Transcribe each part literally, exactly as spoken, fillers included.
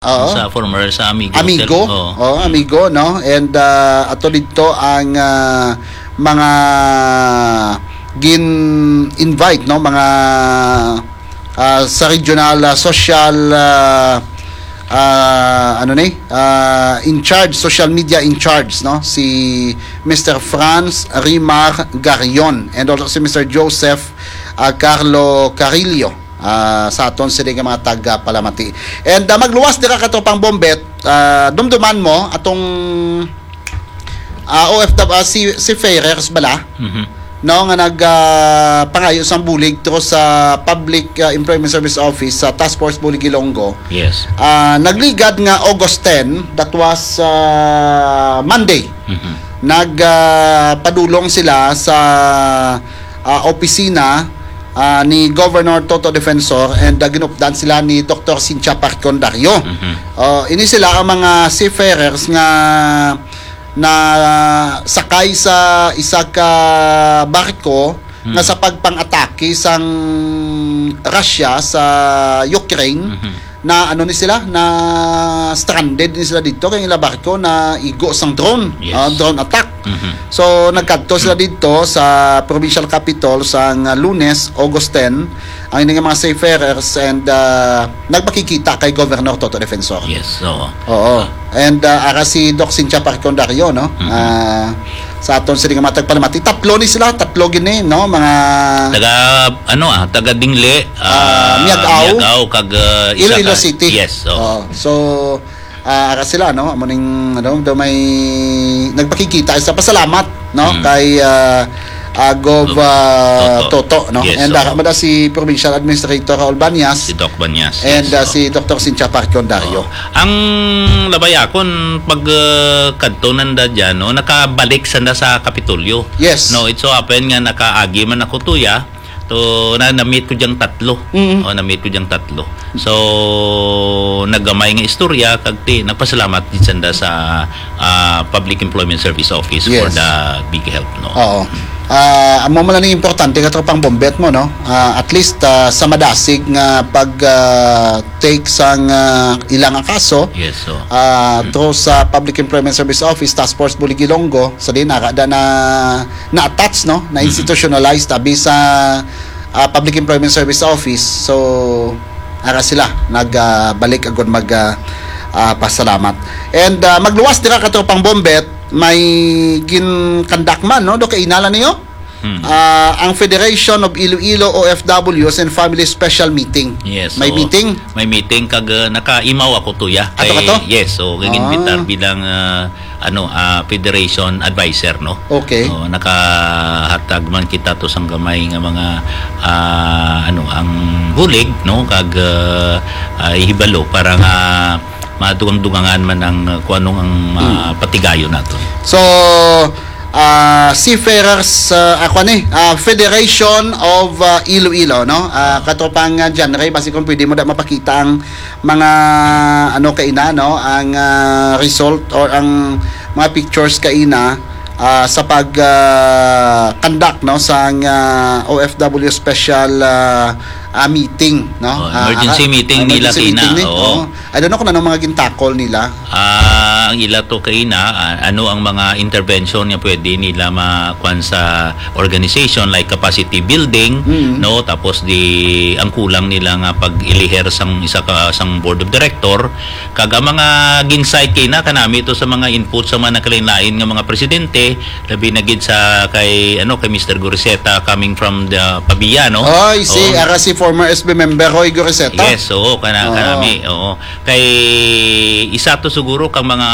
Oo. Sa former, sa Amigo Amigo. Hotel. Oo. Oo, Amigo, no? And, ah, ato dito ang, ah, mga gin-invite, no? Mga, ah, sa regional, ah, social, ah, ah, ano ni? Ah, in charge, social media in charge, no? Si Mister Franz Rimar Garion and also si Mister Joseph, ah, Carlo Carillo, ah, sa aton sini nga mga taga-palamati. And, ah, magluwas dira ka tropang Bombet, ah, dumduman mo atong, ah, O F W, ah, si, si Ferrers bala, Mhm. no, nga nag, ah, pangayo sang bulig through sa Public, ah, Employment Service Office sa Task Force Bulig Ilonggo. Yes. Ah, nagligad nga August ten, that was, ah, Monday. Mhm. Nag, ah, padulong sila sa, ah, opisina, ah, ni Governor Toto Defensor and, ah, ginupdan sila ni Doktor Cynthia Parcon Dario. Mhm. Ah, ini sila ang mga seafarers nga na sakay sa isa ka barko nga Hmm. sa pagpang-atake sang Russia sa Ukraine, Mhm. na ano ni sila, na stranded ni sila dito kay ila barko na igo sang drone, Yes. ah, drone attack. Mhm. So, nagkadto sila dito sa provincial capital sang Lunes, August ten, ang ining mga seafarers and, ah, nagpakikita kay Governor Toto Defensor. Yes, oo. Oo. And, ah, ara si Doc Cynthia Parcon Dario, no? Mhm. Ah, sa aton sini nga mga tagpalamati, tatlo ni sila, tatlo gini, no? Mga Taga, ano, ah, taga Dingle, Ah, ah, Miag-ao. Miag-ao, kag, ah, isa Iloilo ka City. Yes, oo. Oo. So, ah, ara sila, no? Amo ning, ano, daw may nagpakikita sa pasalamat, no? Hmm. Kay, ah, ah, Gov, Gov ah, Toto. Toto, no? Yes, And, ah, oo. Mada si Provincial Administrator Raul Banyas Si Doc Banyas, and, yes, ah, oo. si Doktor Cynthia Parcon Dario. Oo. Ang labayakon, pag, ah, kadto nanda dyan, no, nakabalik sanda sa Kapitolyo. Yes. No, it so happen nga nakaagi man ako tuya, to na, na-meet ko diyang tatlo. Mm. O, na-meet ko diyang tatlo. So, naggamay nga istorya, kag ti, nagpasalamat din sanda sa, ah, Public Employment Service Office for Yes. the big help, no? Oo. Ah, amo man lang importante, katropang Bombet mo, no? Ah, at least, ah, sa madasig nga pag, ah, take sang, ah, ila nga kaso, Yes, so. ah, Mm. through sa Public Employment Service Office, Task Force Bulig Ilonggo, sa din, naka-, da na, na-attach, no? Mhm. Na-institutionalized, abi sa, ah, Public Employment Service Office. So, ara sila, nag, ah, balik agud mag, ah, ah, pasalamat. And, ah, magluwas dira, katropang Bombet, may gin-conduct man, no? Do kainala niyo? Hmm. Ah, ang Federation of Iloilo O F Ws and Family Special Meeting. Yes, May so, meeting? may meeting kag, uh, nakaimaw ako tuya. Ato ka Kay, to? yes, so, kay Ah. ginbitar bilang, uh, ano, uh, Federation Advisor, no? Okay. So, nakahatag man kita to sang gamay nga mga, uh, ano, ang bulig, no? Kag, uh, uh, ihibalo para nga madugang-dugangan man ang, uh, kung anong ang, uh, Hmm. patigayon nato. So, ah, Seafarers, ah, ako ni, ah, Federation of, ah, Iloilo, no? Ah, katropang, ah, John Ray, basi kung pwede mo da mapakita ang mga, ano, kaina, no? Ang, ah, result or ang mga pictures kaina, ah, sa pag, ah, conduct, no? Sa, ah, O F W special, ah, ah, meeting, no? Oh, Ah, emergency ah, meeting nila emergency kaina, meeting ni. oo. Oo. I don't know kung ano mga gintakol nila. Ah, ang ila to kaina, ah, ano ang mga intervention nga pwede nila ma-, kuwan sa organization, like capacity building, Mm. no? Tapos di, ang kulang nila nga pag-iliher sang isa ka, sang board of director, kag ang mga gin-cite kaina, kanami to sa mga input sa mga nagkalain-lain nga mga presidente, labi na gid sa kay, ano, kay Mister Goriseta coming from the Pavia, no? Oy, si, Oo. ara si former S B member Roy Goriseta. Yes, oo, kana-, Oo. kanami, oo. Kay isa to siguro kang mga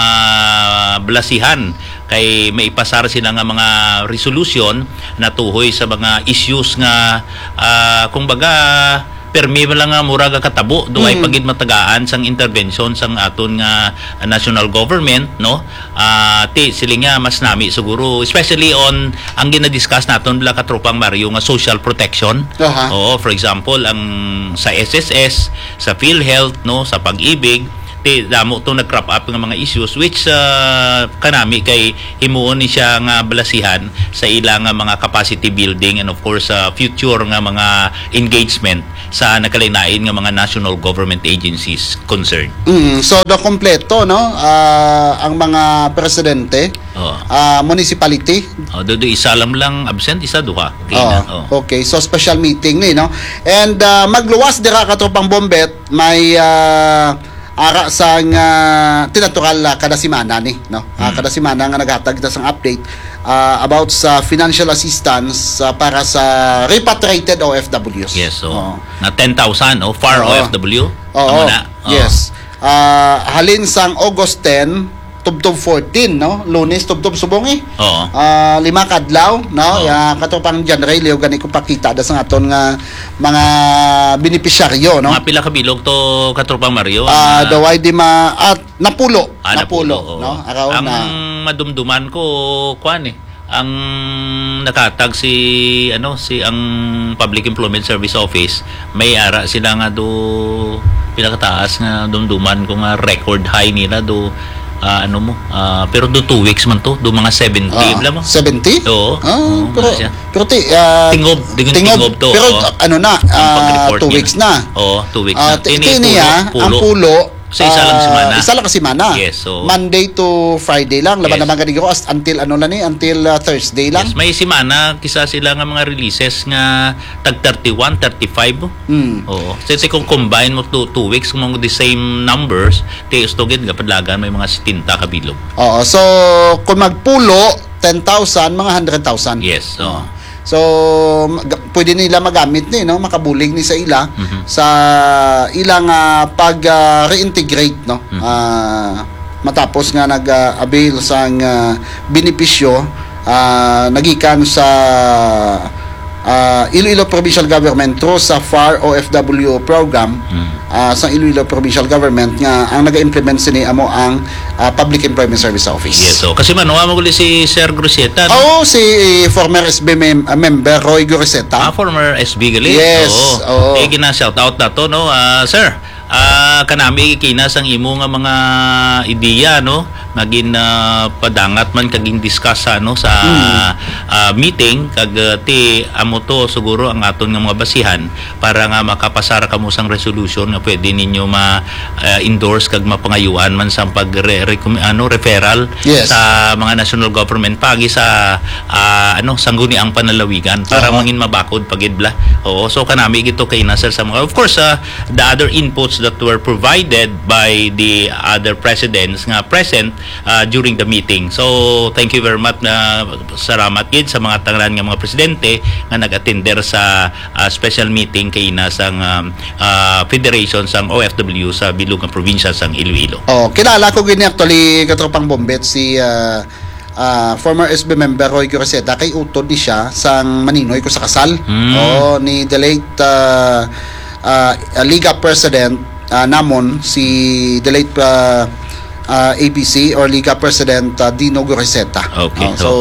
blasihan kay maipasar sila nga mga resolution natuhoy sa mga issues nga, ah, kung baga, permi man lang nga mura ga katabo, do ay Mm. pagid matagaan sang intervention sang aton nga national government, no? Ah, ti, siling nga mas nami siguro, especially on ang ginadiscuss naton bala katropang Mario nga social protection. Aha. Oo, for example, ang sa S S S, sa PhilHealth, no, sa Pag-ibig, ti damo to nag-crop up nga mga issues, which, ah, kanami kay himuon ni siya nga balasihan sa ila nga mga capacity building and, of course, sa future nga mga engagement sa nagkalain-lain nga mga national government agencies concerned. Mm, so, do kompleto, no? Ah, ang mga presidente, Oh. ah, municipality. Oh, do, do isa lang lang absent, isa duha. Okay Oh, na. Oh. okay. So, special meeting ni, no? And, ah, magluwas dira, katropang Bombet, may, ah, ara sang, ah, tinatural, ah, kada semana ni, no? Ah, Mm. kada semana nga naghatag kita sang update, ah, about sa financial assistance, ah, para sa repatriated O F Ws. Yes, so Oo. na ten thousand, oh, far Oo. O F W. Oo. Amo na. Oo. Yes. Ah, halin sang August ten, tubtob fourteen, no? Lunes, tubtob subong eh. Oo. Ah, lima kadlaw, no? Oo. Ya, katropang John Ray, liw gani ko pakita da sa aton nga mga benepisyaryo, no? Mga pila ka bilog to, katropang Mario, Ah, ang, ah, daway di ma-, at napulo. Ah, Napulo, napulo, oo. no? Araw Ang na. madumduman ko, kwan eh. Ang nakatag si, ano, si ang Public Employment Service Office, may ara sila nga do pinakataas nga dumduman ko nga record high nila do, ah, ano mo, ah, pero do two weeks man to, do mga seventy Ah, lang mo. seventy? Oo. Ah, Oo, pero, wala siya. pero ti, ah, Tingob, di ko tingob, tingob to, pero oo. ano na, Ang ah, pag-report two nila. weeks na. Oo, two weeks Ah, na. ti-, Ini ti niya, pulo, ang pulo. pulo, Sa isa lang ah, semana. isa lang ka semana. Yes, so Monday to Friday lang. Laban Yes. naman gani ko as-, until ano lang ni, until, ah, Thursday lang. Yes, may semana kisa sila nga mga releases nga tag thirty-one, thirty-five. Mm. Oo. So, ito kung combine mo two, two weeks, kung the same numbers, ti ustugid nga padlagan may mga setenta ka bilog. Oo. So, kung magpulo, ten thousand, mga hundred thousand. Yes, oo. Oo. So, mag-, pwede nila magamit ni, no? Makabulig ni sa ila, Mhm. sa ilang, ah, pag, ah, reintegrate, no? Mhm. Ah, matapos nga nag, ah, avail sang, ah, benepisyo, ah, nagikan sa, ah, Iloilo Provincial Government through sa far O F W program, Hmm. ah, sa Iloilo Provincial Government nga ang naga-implement sini amo ang, ah, Public Employment Service Office. Yes, so, kasi man, wa mo guli si Sir Groseta, no? Oo, si former S B mem-, ah, member Roy Groseta. Ah, former S B gali? Yes, Oo. oo. Eh, gina-shout out na to, no? Ah, sir, ah, kanami kina sang imo nga mga ideya, no? Nga gin, ah, padangat man kag gin-discuss sa, no, sa, Hmm. ah, meeting, kag, ah, ti amo to siguro ang aton nga mga basihan para nga makapasar kamo sang resolution nga pwede ninyo ma, ah, endorse kag mapangayuan man sang pag re-, recom-, ano, referral Yes. sa mga national government pagi sa, ah, ano, sangguniang panlalawigan para Aha. mangin mabakod pa gid bala. Oo, so kanami gito kay na, sir, sa mga, of course, ah, the other inputs that were provided by the other presidents nga present, ah, during the meeting. So, thank you very much, na salamat gid sa mga tanan nga mga presidente nga nag-attender sa, ah, special meeting kay na sang, um, ah, Federation sang O F W sa bilog nga probinsya sang Iloilo. Oh, kilala ko gini actually, katropang Bombet, si, ah, ah, former S B member Roy Groseta, kay utod ni siya sang maninoy ko sa kasal. Hmm. Oh, ni the late, ah, ah, Liga President, ah, namon, si the late, ah, ah, A B C or Liga President, ah, Dino Groseta. Okay, Oh, so, so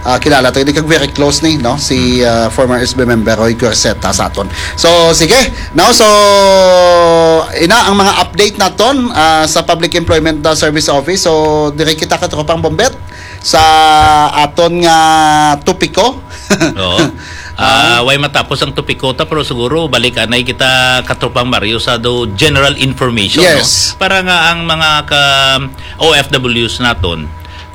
ah, kilala to, hindi kag very close ni, no? Si, Hmm. ah, former S B member Roy Groseta sa aton. So, sige, no? So, ina ang mga update naton, ah, sa Public Employment, ah, Service Office. So, dire kita, katropang Bombet, sa aton nga topiko. Oo. Ah, Ah. way matapos ang topiko ta, pero siguro balik anay kita, katropang Mario, sa do general information, no? Yes. Para nga ang mga ka O F Ws naton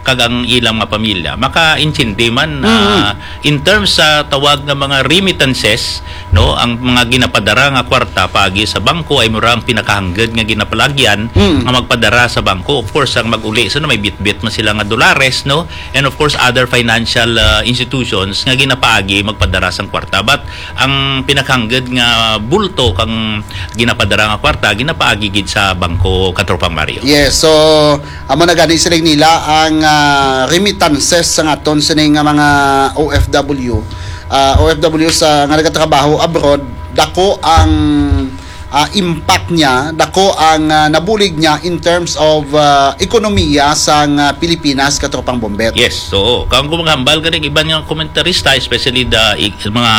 kag ang ilang mga pamilya makaintindi man, Mm. ah, in terms sa tawag nga mga remittances, no, ang mga ginapadara nga kwarta paagi sa bangko ay mura ang pinakahangged nga ginapalagyan Mm. nga magpadara sa bangko. Of course, ang mag-uli sa, no, may bitbit man sila nga dolares, no, and of course other financial, ah, institutions nga ginapaagi magpadara sang kwarta. But ang pinakahangged nga bulto kang ginapadara nga kwarta ginapaagi gid sa bangko, katropang Mario. Yes, so amo na gani siling nila ang, ah, remittances sa aton sini nga mga O F W. Ah, O F W sa nga nagatrabaho abroad, dako ang ah, impact niya, dako ang, ah, nabulig niya in terms of, ah, ekonomiya sang, ah, Pilipinas, Katropang Bombet. Yes, so, kung kumagambal ka ng iban nga komentarista, especially the e-, mga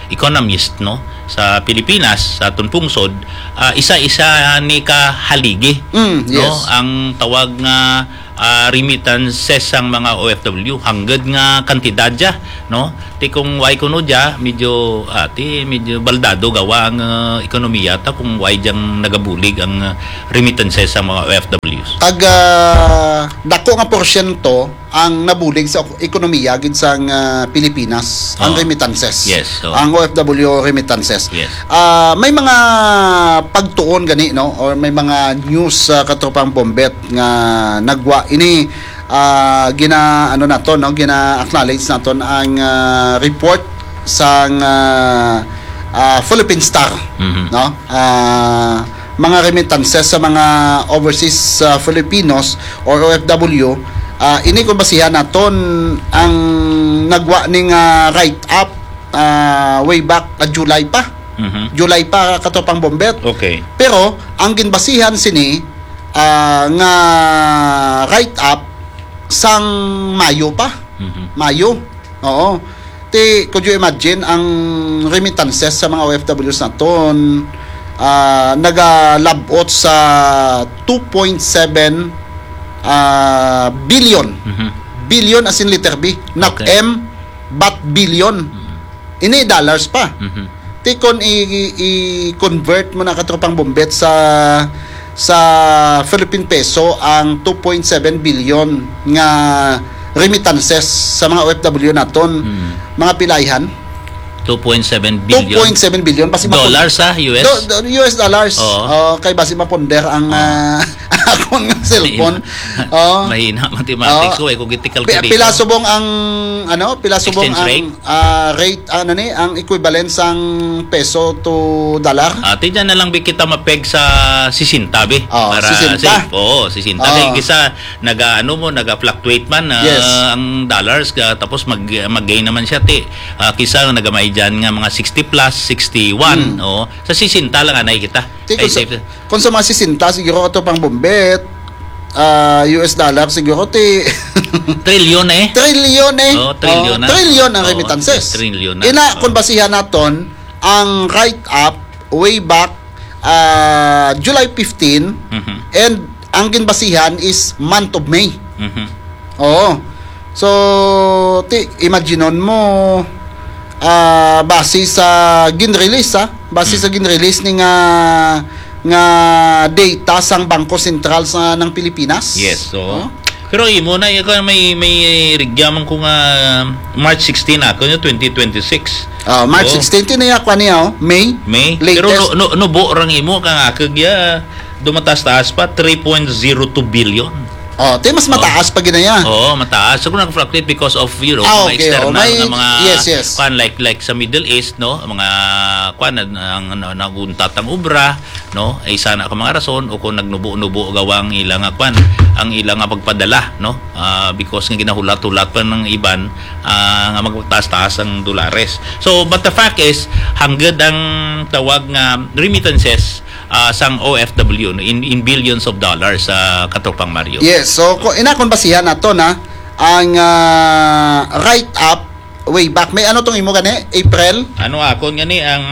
economist, no, sa Pilipinas, sa aton pungsod, ah, isa-isa ni ka haligi, Mm, no, yes. ang tawag nga, ah, remittances sang mga O F W, hanggad nga kantidad dya, no? Ti kung way kuno dya, medyo, ah, ti medyo baldado gawa ang, ah, ekonomiya ta kung way dyang nagabulig ang, ah, remittances sang mga O F Ws. Tag, ah, dako nga porsyento ang nabulig sa ekonomiya gid sang, ah, Pilipinas, ang Oo. remittances. Yes, oo. Ang O F W remittances. Yes. Ah, may mga pagtuon gani, no, or may mga news, ah, Katropang Bombet, nga nagwa ini, ah, gina, ano naton, no, gina-acknowledge naton ang, ah, report sang, ah, ah, Philippine Star, Mhm. no? Ah, mga remittances sa mga overseas, ah, Filipinos or O F W, ah, ini kung basihan naton ang nagwa ning, ah, write-up, ah, way back, ah, July pa. Mhm. July pa, Katropang Bombet. Okay. Pero ang ginbasihan sini, ah, nga write-up sang Mayo pa. Mhm. Mayo. Oo. Ti, could you imagine ang remittances sa mga O F Ws naton, ah, nagalabot sa two point seven, ah, billion. Mhm. Billion as in letter B, not Okay. M, but billion. Mhm. Ini dollars pa. Mhm. Ti kon i, i, i-convert mo na, Katropang Bombet, sa, sa Philippine peso ang two point seven billion nga remittances sa mga O F W naton, Mhm. mga pilayhan? Two point seven billion? Two point seven billion, basi mapun- Dollars, ah, U S? Do-, do-, U S dollars. Oo. Oh, kay basi mapunder ang, Oo. ah, akon nga cellphone. Mahina. Oo. Mahina mathematics Oo. ko, eh, kung giti Pi-, calculator. Pila subong ang, ano, pila subong Exchange ang, rate? ah, rate, ano ni, ang equivalent sang peso to dollar? Ah, ti dyan na lang bi kita mapeg sa sixty, bi. Oh, Para sixty. safe. Oo, sixty. Oh. Kay kisa naga, ano mo, naga-fluctuate man, ah, Yes. ang dollars, ka, tapos mag, mag-gain naman siya, ti. Ah, kisa nagamay dyan nga mga sixty plus, sixty-one, Hmm. oo. Sa sixty lang anay kita. Ti, Ay, kung sa, safe. kung sa mga sixty, siguro, Katropang Bombet, ah, U S dollar, siguro, ti, Trilyon eh. Trilyon eh. Oh, trilyon Oh, na. trilyon ang Oh, remittances. trilyon na. Ina, Oh. kung basihan naton, ang write-up way back, ah, July fifteen, Mhm. and ang ginbasihan is month of May. Mhm. Oo. So, ti, imaginon mo, ah, base sa gin-release, ah, base Hmm. sa gin-release ni nga, nga data sang Bangko Sentral sa, ng Pilipinas. Yes, so. Oh. Pero imo na, ikaw may, may rigya man ko nga March sixteen ako, no, twenty twenty-six. Ah, March Oh. sixteen, ti na ya, kwan niya, oh, May. May. Latest. Pero no, no, nubo rang imo kang ako, ya, dumatas-taas pa, three point zero two billion. Oh, ti mas Oh. mataas pa gid na ya. Oo, mataas. So, kung nag-fluctuate because of, you know, Ah, mga okay, external oh. May, nga mga yes, yes. kwan, like, like sa Middle East, no? Mga kwan, ang, ang, ang naguntat ang obra, no? Ay isa na ka mga rason, o kung nagnubo-nubo gawa ang ila nga kwan, ang ila nga pagpadala, no? Ah, because nga ginahulat-hulat pa ng iban, ah, nga magtaas-taas ang dolares. So, but the fact is, hanggad ang tawag nga remittances, ah, sang O F W, no, in, in billions of dollars, ah, Katropang Mario. Yes, so, ko, ina, kung basihan nato na ang, ah, write-up way back. May ano tong imo gani? April? Ano akon gani ang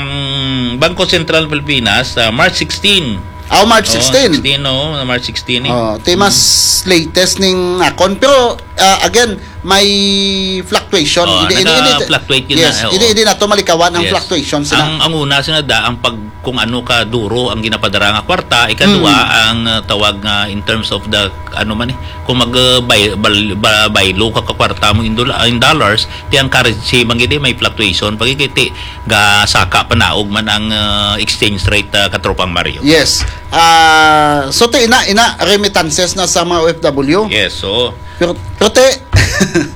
Bangko Sentral Pilipinas, ah, March sixteen. Oh, March Oh, sixteen. sixteen, no? March sixteen eh. Oh, ti mas latest ning akon. Pero, ah, again, may fluctuation. Oh, Hindi, hindi, hindi. naga-fluctuate yun Yes, na, oo. hindi, hindi nato malikawan ang Yes. fluctuation sila. Ang, ang una, sila da, ang pag, kung ano ka duro ang ginapadara nga kwarta, ikadua, Mm. ang, uh, tawag nga in terms of the, ano man eh, kung mag, uh, buy, bal-, ba-, buy low ka, ka kwarta mo in dola-, in dollars, ti ang currency, man gid eh, may fluctuation, pag ikiti, ga saka panaog man ang, uh, exchange rate, uh, Katropang Mario. Yes. Ah, so, ti, ina, ina, remittances na sa mga O F W. Yes, so, Pero, pero, ti,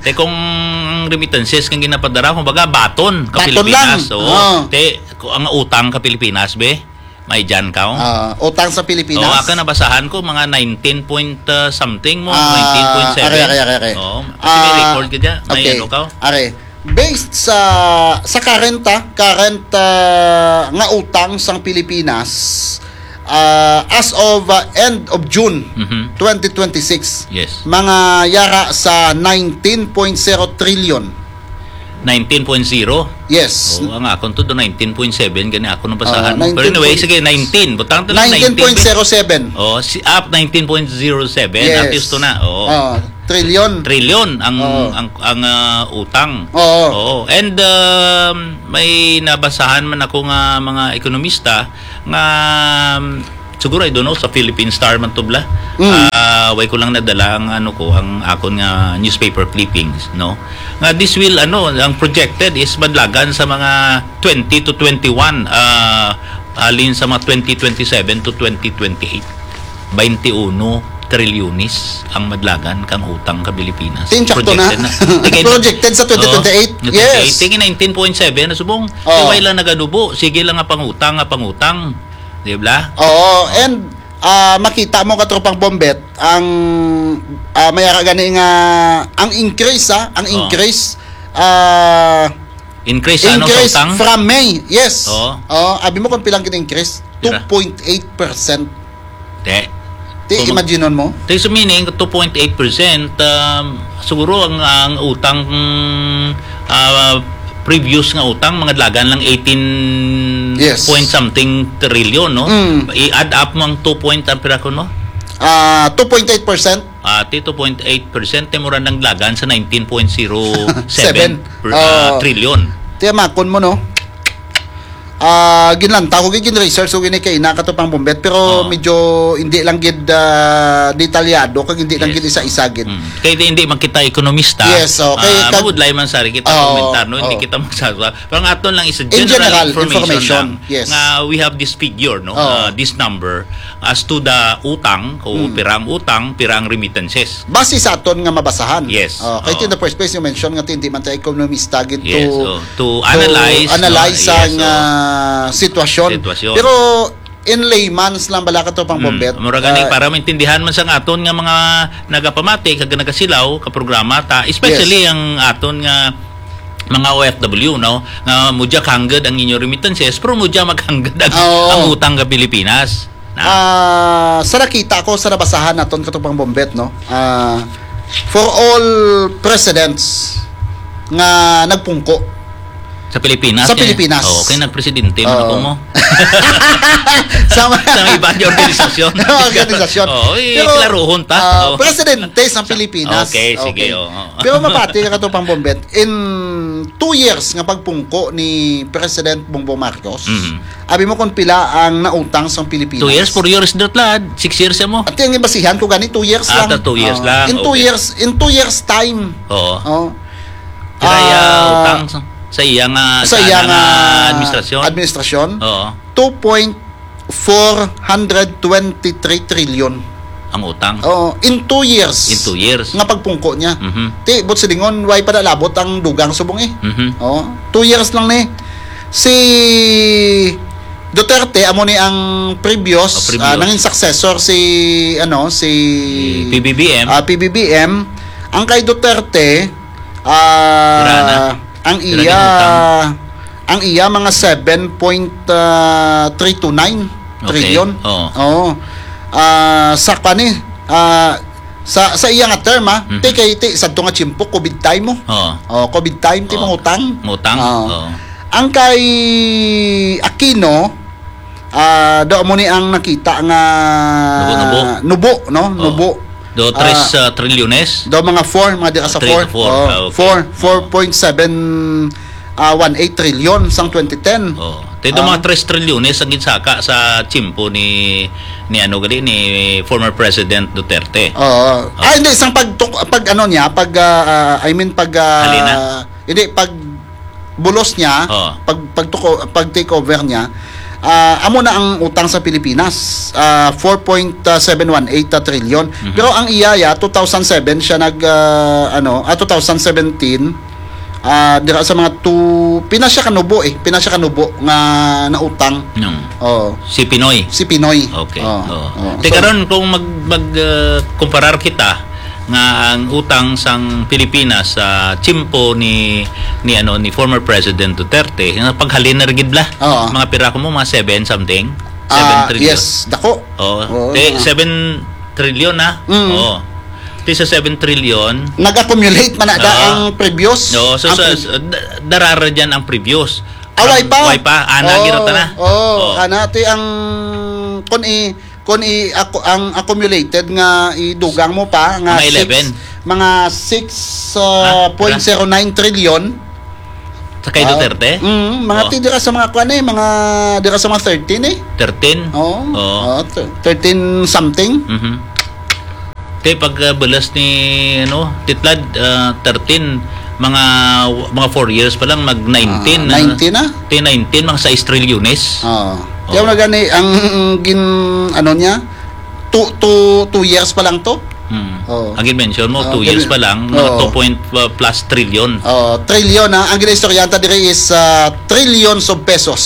Te, kung ang remittances kang ginapadara, kumbaga, baton ka Baton Pilipinas. lang. Oo. Oo. Te, kung ang utang ka Pilipinas, be, may dyan ka, oh. Ah, utang sa Pilipinas? Oo, ako nabasahan ko, mga nineteen point, uh, something mo, Ah, nineteen point seven. Are, are, are, are. Oo, kasi may Ah, record ka dyan. May okay. ano ka, oh. Are, Based sa sa current, ah, current, ah, nga utang sang Pilipinas, ah, as of, ah, end of June Mhm. twenty twenty-six, Yes. mga yara sa nineteen point zero trillion. Nineteen point zero? Yes. Oo, ang akon to do nineteen point seven, gani ako nang basahan Ah, mo. Pero anyway, nineteen point sige, nineteen. Butang to na nineteen point zero seven. Oh, si up nineteen point zero seven. Yes. At least to na. Oo. Ah, trillion. Trillion ang Oo. ang ang ah, utang. Oo. Oo. And um, may nabasahan man ako nga mga ekonomista nga um, siguro, I don't know, sa Philippine Star man to bala. Mm. Ah, way ko lang nadala ang ano ko, ang akon nga newspaper clippings, no? Nga this will, ano, ang projected is madlagan sa mga twenty to twenty-one, ah, alin sa mga twenty twenty-seven to twenty twenty-eight. Twenty-uno trilyones ang madlagan kang utang ka Pilipinas. Tin, sakto na. Projected na. Projected sa Oo. twenty twenty-eight. Yes. Tingin nineteen point seven na subong. Oo. Way lang nagadubo. Sige lang nga pangutang, nga pangutang. Di ba? Oo, Oh. and, ah, makita mo, Katropang Bombet, ang, ah, may ara gani nga, ang increase, ah, ang Oh. increase, ah, Increase, ano, sa increase utang? from May. Yes. Oo. Oh, abi mo kung pilang gin-increase? Pira? Two point eight percent. Te. Te, Kung mag- imagine mo? Te, so meaning, two point eight percent, um, siguro ang, ang utang, mm, ah, previous nga utang, mga dalagan lang eighteen Yes. point something trillion, no? Mm. I-add up mo ang two point, ang pira ko, no? Ah, two point eight percent. Ah, ti two point eight percent, te, mura nang dalagan sa nineteen point zero seven Seven. per, ah, Oh. trillion. Tiyamakon mo, no? Ah, ginlantaw ko, gin-research ko gini kay ina, Katropang Bombet, pero Oh. medyo hindi lang gid, ah, detalyado, kag hindi lang Yes. gid isa-isa gid. Mm. Kay di, hindi man kita ekonomista. Yes, okay. Ah, Kag- mabudlay man, sari, kita Oh, komentar, no? Hindi oh. kita magsaswa. Pero ang aton lang is a In general general information information, lang yes. nga we have this figure, no? Oh. Ah, this number as to the utang, kung Mm. pirang utang, pirang remittances. Base sa aton nga mabasahan. Yes. Oh, kay Oh. in the first place, you mentioned nga hindi man tayo ekonomista gid Yes, to, oh. To to analyze, analyze no? Yes, ang, oh. ah, sitwasyon. Sitwasyon. Pero in layman's lang bala, Katropang Mm. Bombet, Mura gani, ah, para maintindihan man sa aton nga mga nagapamati kag nagasilaw ka programa ta, especially Yes. ang aton nga mga O F W, no, nga mudya kangged ang inyo remittances, pero mudya magkangged ang, Oo. ang utang ka Pilipinas. Na? Ah, sa nakita ko, sa nabasahan naton, Katropang Bombet, no? Ah, for all presidents nga nagpungko Sa Pilipinas, Sa eh. Pilipinas. Oo, kay nagpresidente man Oo. ako mo. Sa mga Sa iba nga organisasyon. Organisasyon. Oo, eh, Pero, klaruhon ta. ah, Oo. presidente sa Pilipinas. Okay, sige, Okay. oo. Pero mapati ka, Katropang Bombet, in two years nga pagpungko ni President Bongbong Marcos, Mhm. abi mo kung pila ang nautang sa Pilipinas? Two years, four years, dot lad. Six years mo. At yung basihan ko gani, two years Ah, lang. ta two years Ah, lang. in two Okay. years, in two years time. Oo. Oh. Kaya Ah, utang sa, sa iya nga, sa sa iya nga nga administrasyon? administrasyon, Oo. two point four hundred twenty-three trillion. Ang utang? Oo, in two years. In two years. Nga pagpungko niya. Mhm. Ti, but silingon, way pa nalabot ang dugang subong eh. Mhm. Oo, two years lang ni. Si Duterte, amo ni ang previous, Oh, previous. ah, nangin successor si, ano, si Si P B B M. ah, P B B M. Ang kay Duterte, ah, Pira na? ang Pira iya, na utang? ang iya mga seven point three two nine Okay. trillion. Oo. Oo. Ah, sa kani, ah, sa, sa iya nga term, ah, Mhm. ti kay ti sadto nga tiyempo, covid time mo. Oo. Oh, covid time, ti Oo. mga utang. Mga utang? Oo. Oo. Ang kay Aquino, ah, do mo ni ang nakita nga Nubo-nubo. nubo, no? Oo. Nubo. Do tres, Ah, ah, trilyones? do mga four, mga dira sa Three four. to four. Oh, Ah, okay. four, four point seven, ah, one eight trillion sang twenty ten. Oh. Ti do Ah. mga tres trilyones ang ginsaka sa tiyempo ni, ni ano gali, ni former President Duterte. Oo. Ah. Ah, hindi, sang pag, pag ano niya, pag, ah, ah, I mean, pag, ah, Halina? hindi, pag bulos niya, Oo. pag, pag, tuko, pag take over niya, ah, amo na ang utang sa Pilipinas, ah, four point seven one eight trillion. Mhm. Pero ang iya, ya, two thousand seven siya nag, ah, ano, ah, two thousand seventeen, ah, dira sa mga two, pina siya kanubo eh, pina siya kanubo nga nautang. Nung Oo. Si Pinoy? Si Pinoy. Okay. Oo. Oo. Oo. Ti So karon kung mag, mag, ah, kumparar kita, nga ang utang sang Pilipinas sa tiyempo ni, ni, ano, ni former President Duterte, nga paghalin na gid bala. Oo. Mga pira ko mo, mga seven something? Seven Ah, trillion. Yes, dako. Oo. Oo, Te, mga seven trillion na. Mm. Oo. Te sa seven trillion. Nag-accumulate man na Oo. ang previous, Oo, so, ang so, pre- so, da-, darara dyan ang previous. Ah, way Ang pa? way pa. Ana, Oo, ginaw ta na. oo. Oo. Ana, ti ang, kun i-, kun i-, ako, ang accumulated nga idugang mo pa, nga Mga six, eleven. mga six, Ah, uh, point zero nine trillion. Sa kay Ah, Duterte? mm, mga Oh. ti dira sa mga kwan eh, mga dira sa mga thirteen eh. Thirteen? Oo. Oo. Oo, thir-, thirteen something. Mhm. Te, pag, ah, bulas ni, ano, Titlad, ah, thirteen, mga, mga four years pa lang, mag nineteen Ah, na. nineteen na? Te, nineteen, mga sais trilyones. Oo. Oo. Kaya wala gani, ang gin-, ano niya, two, two, two years pa lang to. Hmm. Oo. Ang gin-mention mo, Oo, two years gani-, pa lang, mga oo. two point, uh, plus trillion. Oo, trillion, ha? Ang ginaistorya ta diri is, uh, trillions of pesos.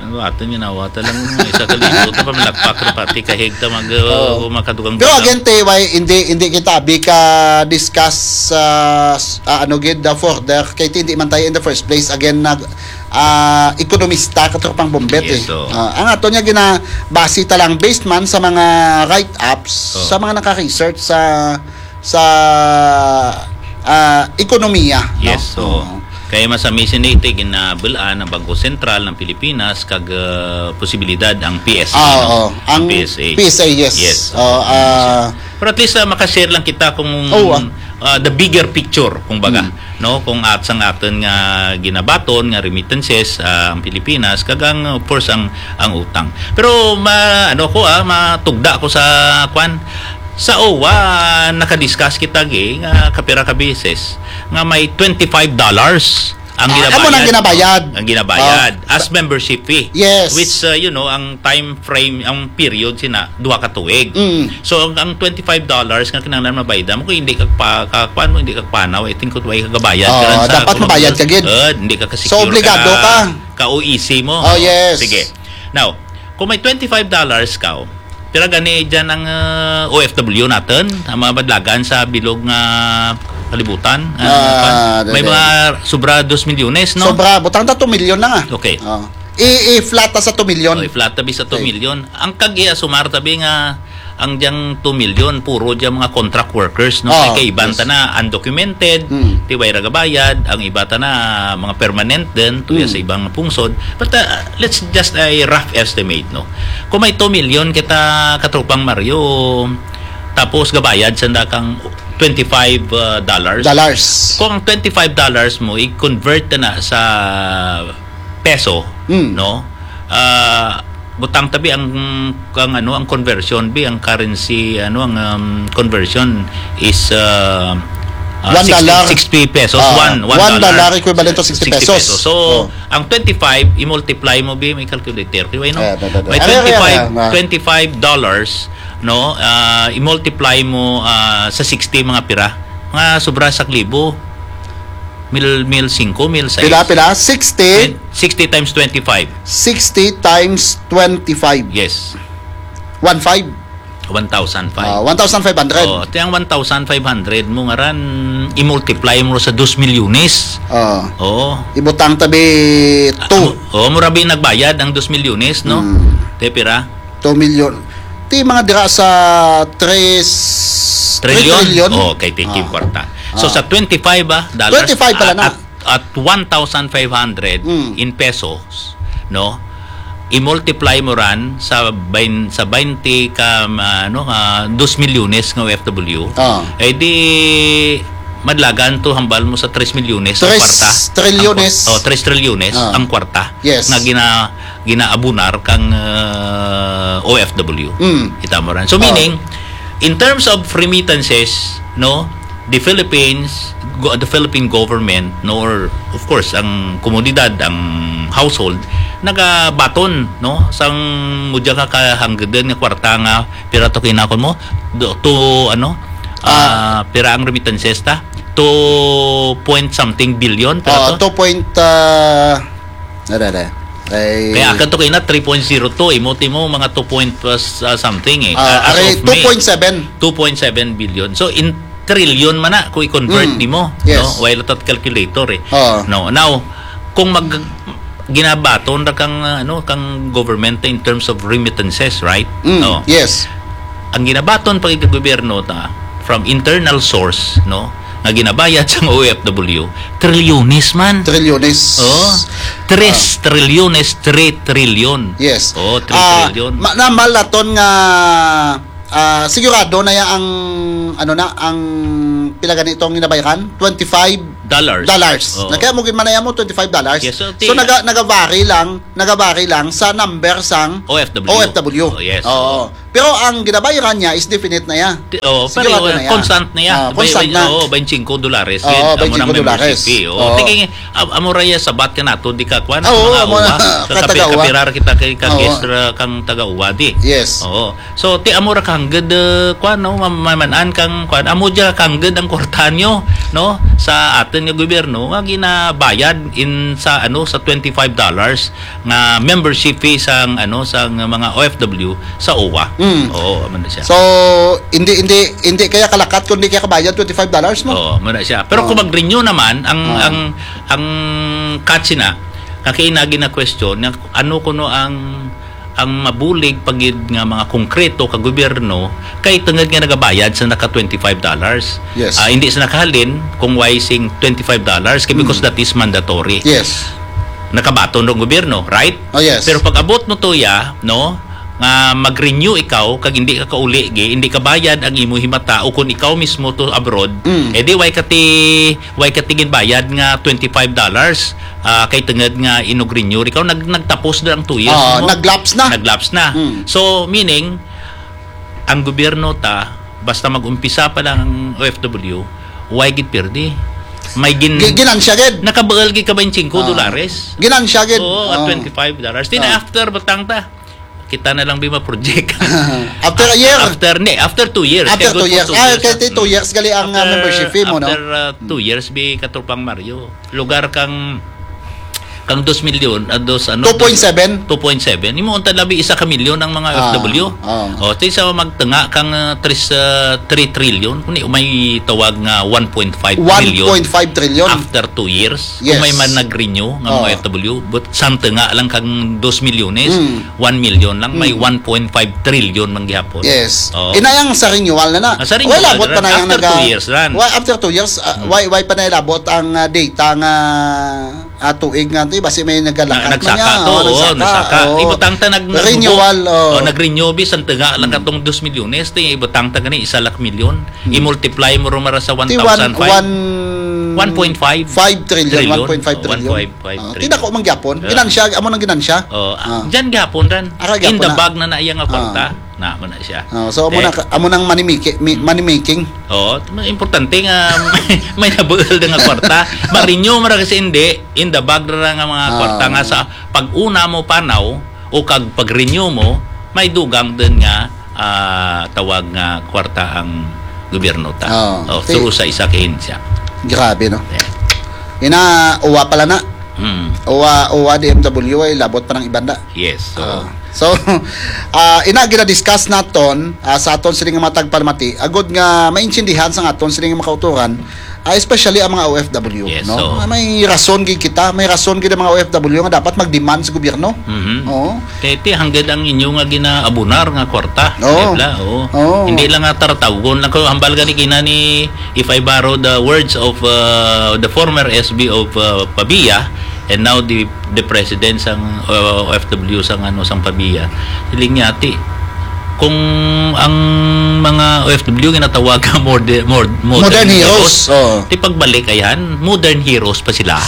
Ano, aton ginawa ta lang, isa ka libo, ta pa malakpak ra pati kahig ta mag, uh, Oo. makadugang Pero bulan. Again, T Y, hindi, hindi kita abi ka discuss, uh, s-, uh, ano gid, the further, kay hindi man tayo in the first place, again, nag, ah, ekonomista, katropang Bombet, Yes, eh. oo. Ah, ang ato niya ginabase ta lang based man sa mga write-ups, Oo. sa mga naka-research sa, sa, ah, ekonomiya, no? Yes, oo. Oo. Kaya masamisin ito, ginabal-an ang Bangko Sentral ng Pilipinas kag, ah, posibilidad ang P S A, Ah, no? oo. Ang Ang P S A. P S A, yes. Yes. Oo, ah, Pero at least, ah, makashare lang kita kung Oo, ah. ah, the bigger picture, kung baga, Hmm. no? Kung at sang aton nga ginabaton nga remittances, ah, ang Pilipinas, kag ang, of course, ang, ang utang. Pero ma-, ano ko, ah, matugda ko sa, kwan, sa O W A, nakadiscuss kita, gi, nga kapira ka beses, nga may twenty-five dollars ang Ah, ginabayad. amo nang ginabayad. Ang ginabayad Oh. as membership fee. Yes. Which, uh, you know, ang time frame, ang period sina, duha ka tuig. Mm. So, ang, ang twenty-five dollars nga kinahanglan mabayad mo, kung hindi ka pa, ka, kuwan mo, hindi ka panaw, I think, kung way ka gabayad, Oh, ka lang sa dapat mabayad ka gid. Uh, hindi ka kasi So, obligado ka. Ka O E C mo. Oh, yes. Sige. Now, kung may twenty-five dollars ka, oh, pira gani dyan ang, uh, O F W natin, ang mga badlagan sa bilog nga kalibutan? Ah, Ah, may dali. mga sobra dos milyones, no? Sobra, butang ta two million na nga. Okay. Oh. I-, i-flat ta sa two million. Oh, i-flat ta bi sa Okay. two million. Ang kag-iasumar tabi nga ang diyang two million, puro diyang mga contract workers, no? Oh, Kay, kay iban yes. ta na undocumented, Hmm. ti way ra gabayad, ang iba ta na mga permanent din, tuya Hmm. sa ibang pungsod. But, uh, let's just a rough estimate, no? Kung may two million kita katropang Mario, tapos gabayad sa kang twenty-five, uh, dollars. Dollars. Kung ang twenty-five dollars mo, i-convert na sa peso, Mm. no? Ah, butang tabi ang, ang ano, ang conversion bi, ang currency, ano, ang, um, conversion is, uh, uh, One dollar. sixty, sixty pesos, Ah, one, one one dollar. dollar equivalent to sixty Sixty pesos. pesos. So, Oh. ang twenty-five, i-multiply mo bi, may calculator, di ba, no? Ah, da, da, da. May Ano, ano, ano, twenty-five, ano, ano? twenty-five dollars, no? Ah, i-multiply mo, ah, sa sixty, mga pira? Mga sobra sa libo. Mil, mil singko, mil sais. Pila, pila? Sixty? Mil, sixty times twenty-five. Sixty times twenty-five. Yes. One five. One thousand five. Ah, one thousand five hundred. Oh, ti ang one thousand five hundred mo nga ran, i-multiply mo sa dos milyones. Ah. Oo. Ibutang tabi two. Ah, oo, mura bi nagbayad ang dos milyones, no? Hmm. Te, pira? Two million. Ti mga dira sa tres, Trillion? three trillion. Oh, kay tiki Ah. kwarta. So, Ah. sa twenty-five, ah, dollars, Twenty-five pala at, na. at, at one thousand five hundred Mm. in pesos, no? I-multiply mo ran sa bain-, sa twenty ka, ma-, ano, ah, dos milyones nga O F W. Ah. Eh, di, madlagan to hambal mo sa tres milyones nga Tres kwarta. Trilyones. Ang kwa-, oh, tres trilyones Ah. ang kwarta Yes. nga gina-, ginaabunar kang, uh, O F W. Mm. Kita mo ran. So, Oh. meaning, in terms of remittances, no, the Philippines, go-, the Philippine government, no, or, of course, ang komunidad, ang household, nagabaton, no, sang mudya ka kahanggadan nga kwarta nga, pira to kinakon mo? Do, to, ano, Ah. ah, pira ang remittances ta? Two point something billion, pira Oh, to? two point, ah, Dada, dada. Ay. Kaya akan to kay na three point zero two, imo, timo, mga two point, uh, s-, uh, something eh. Ah, Ah, as are of May, two point seven. Two point seven billion. So, in trillion man na kung i-convert Mm. nimo, Yes. no? While at calculator eh. Oo. No. Now, kung mag ginabaton ra kang, uh, ano, kang government in terms of remittances, right? Mm. No. Yes. Ang ginabaton pa gid kang gobyerno ta from internal source, no, nga ginabayad sa O F W, trilyones man. Trilyones. Oh, tres Ah. trilyones, three trillion. Yes. Oh, three Ah, trillion. ma-, na malaton nga, ah, sigurado na ya ang, ano na, ang pila gani itong ginabayaran? Twenty-five Dollars. dollars. Oo. Na kaya mo gid manaya mo twenty-five dollars. Yes, so, So, ti- naga-, nagabari lang, nagabari lang sa number sang O F W. O F W. Oh, yes, Oo. oo. Pero ang ginabayaran niya is definite na ya. Ti-, oh, pero, Sigurado uh, na ya. constant na ya. Ah, Bay-, constant bay-, na. Oo, twenty-five dolares. Oo, Yan, amo nang twenty-five dolares. membership fee. Oo. Oo. Tingin, am-, amo ra ya sabat ka nato, di ka kwan, Ah, oo, mga amo uwa. na, Sa kapi-, katagawa. kapirar kita kay ka Oo. guest ra kang taga-uwa, di. Yes. Oo. So, ti amo ra kangged, uh, kwan, no? Ma-, maman-an kang, kwan, amo dya kangged ang kwarta nyo, no? Sa aton nga gobyerno, nga ginabayad in sa, ano, sa twenty-five dollars nga membership fee sang, ano, sang mga O F W sa uwa. Mm. Oo, amo na siya. So, hindi, hindi, hindi kaya kalakat kung di kaya kabayad twenty-five dollars mo? Oo, amo na siya. Pero Oo. kung mag-renew naman, ang, Oo. ang, ang catch na, nga kay na gina-question, nga ano kuno ang, ang mabulig pa gid nga mga konkreto ka gobyerno kay tungod nga nagabayad sa naka twenty-five dollars. Yes. Ah, hindi sa nakahalin kung why sing twenty-five dollars kay because Mm. that is mandatory. Yes. Nakabaton ang gobyerno, right? Oh, yes. Pero pag abot mo to ya, no, nga mag-renew ikaw kag hindi ka kauli gi, hindi ka bayad ang imo himata o kung ikaw mismo to abroad, Mm. eh di why ka ti, why ka ti ginbayad nga twenty-five dollars, ah, kay tungod nga inugrinyo ikaw, nag-, nagtapos na ang two years Oo, mo. nag-lapse na. Nag-lapse na. Mm. So, meaning, ang gobyerno ta, basta mag-umpisa pa lang ang O F W, why gid pirdi? May gin-, Gi-, ginansya gid. Nakabaal gid ka twenty-five Oo. dolares. Ginansya gid. Oo, at Oo. twenty-five dollars. Then Oo. after, butang ta. Kita na lang bi ma-project. After a year. After, ni, after two years. After Kaya good two for years. two Ah, years, kay ah. ti two years gali ang, ah, After, membership fee mo, no? after, ah, two Mm. years, bi Katropang Mario. Lugar kang, kang dos milyon, ah, dos, ano, Two point seven? two point seven. Imo unta labi isa ka milyon ang mga Ah, O F W. ah. O, ti sa magtunga kang, ah, tris, ah, three trillion, kung di, may tawag nga one point five trillion One point five trillion. after two years. Yes. Kung may man nag-renew nga mga Oo. O F W, but sang tunga lang kang dos milyones, Mm. one million lang, may Mm. one point five trillion man gihapon. Yes. Oo. Inayang sa renewal na na. Ah, sa renewal Wala, labot na pa na rin. yung After naga-, two years ran. Wa-, after two years, ah, Hmm. why, why pa na ilabot ang, ah, data nga, ah, tuig nga to, basi may nagalakat Na-, man nagsaka niya. to, Oo, oo, nagsaka. nagsaka. Oo. Ibutang ta nag-, nag-, Renewal, oo. oh, nag-renew, bi, sang tunga lang Hmm. katong dos milyones, ti ibutang ta gani, isa lak milyon. Hmm. I-multiply mo rumara sa Ti one, one thousand five. one One point five. five trillion, Trillion. one point five Oh, trillion. one point five Ah, trillion. Ti dako man gyapon. Yeah. Ginansya, amo nang ginansya. Oh, ah, Ah. dyan gyapon ran. Ara In the gyapon na. bag na na iya nga Ah. kwarta. Na, man na siya. Oh, so, amo Eh? na ka-, amo nang money maki-, mi-, money making. Oo, importante nga may, may nabuhol na nga kwarta. Ma-renew mo ra kasi hindi, in the bag ra nga mga Ah. kwarta nga sa pag-una mo panaw o kag pag-renew mo, may dugang din nga, ah, tawag nga kwarta ang gobyerno ta. Ah, Oh, ti- through sa isa ka ahensya. Grabe, no? Yeah. Ina, uwa pala na. Mm. Uwa, uwa D M W ay labot pa ng ibanda. Yes, so Ah. So, ah, ina gina-discuss naton, ah, sa aton sini nga mga tagpalamati, agod nga maintindihan sa aton sini nga mga kauturan, ah, especially ang mga O F W, Yes, no? so Ah, may rason gid kita, may rason gid ang mga O F W nga dapat mag-demand sa gobyerno. Mhm. Oo. Kay ti, hanggang ang inyo nga ginaabunar nga kwarta, Oo. di ba? Oo. Oo. Hindi lang nga taratawgon lang ko, hambal gani kina ni, if I borrow the words of, uh, the former S B of, uh, Pavia, and now the, the president sang, uh, O F W sang, ano, sang Pavia. Siling niya, ti, kung ang mga O F W ginatawag nga mode-, mod-, modern Modern heroes. heroes. Oo. Ti pagbalik, ayan, modern heroes pa sila.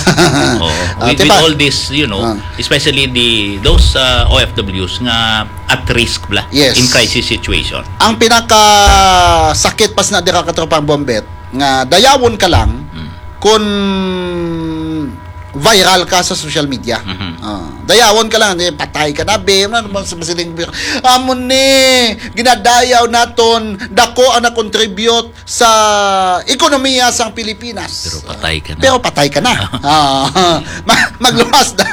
Oo. Ah, With, ti with pa- all this, you know, Ah. especially the, those, uh, O F Ws nga at risk bla Yes. in crisis situation. Ang pinakasakit pa sa dira, Katropang Bombet, nga dayawon ka lang Mm. kung viral ka sa social media. Mhm. Ah, dayawon ka lang, eh, "Patay ka na, be." Ano naman sa masiling, "Amo ni, ginadayaw naton, dako ang na-contribute sa ekonomiya sang Pilipinas." Pero patay ka na. Pero patay ka na. Ah, ma-, magluwas na.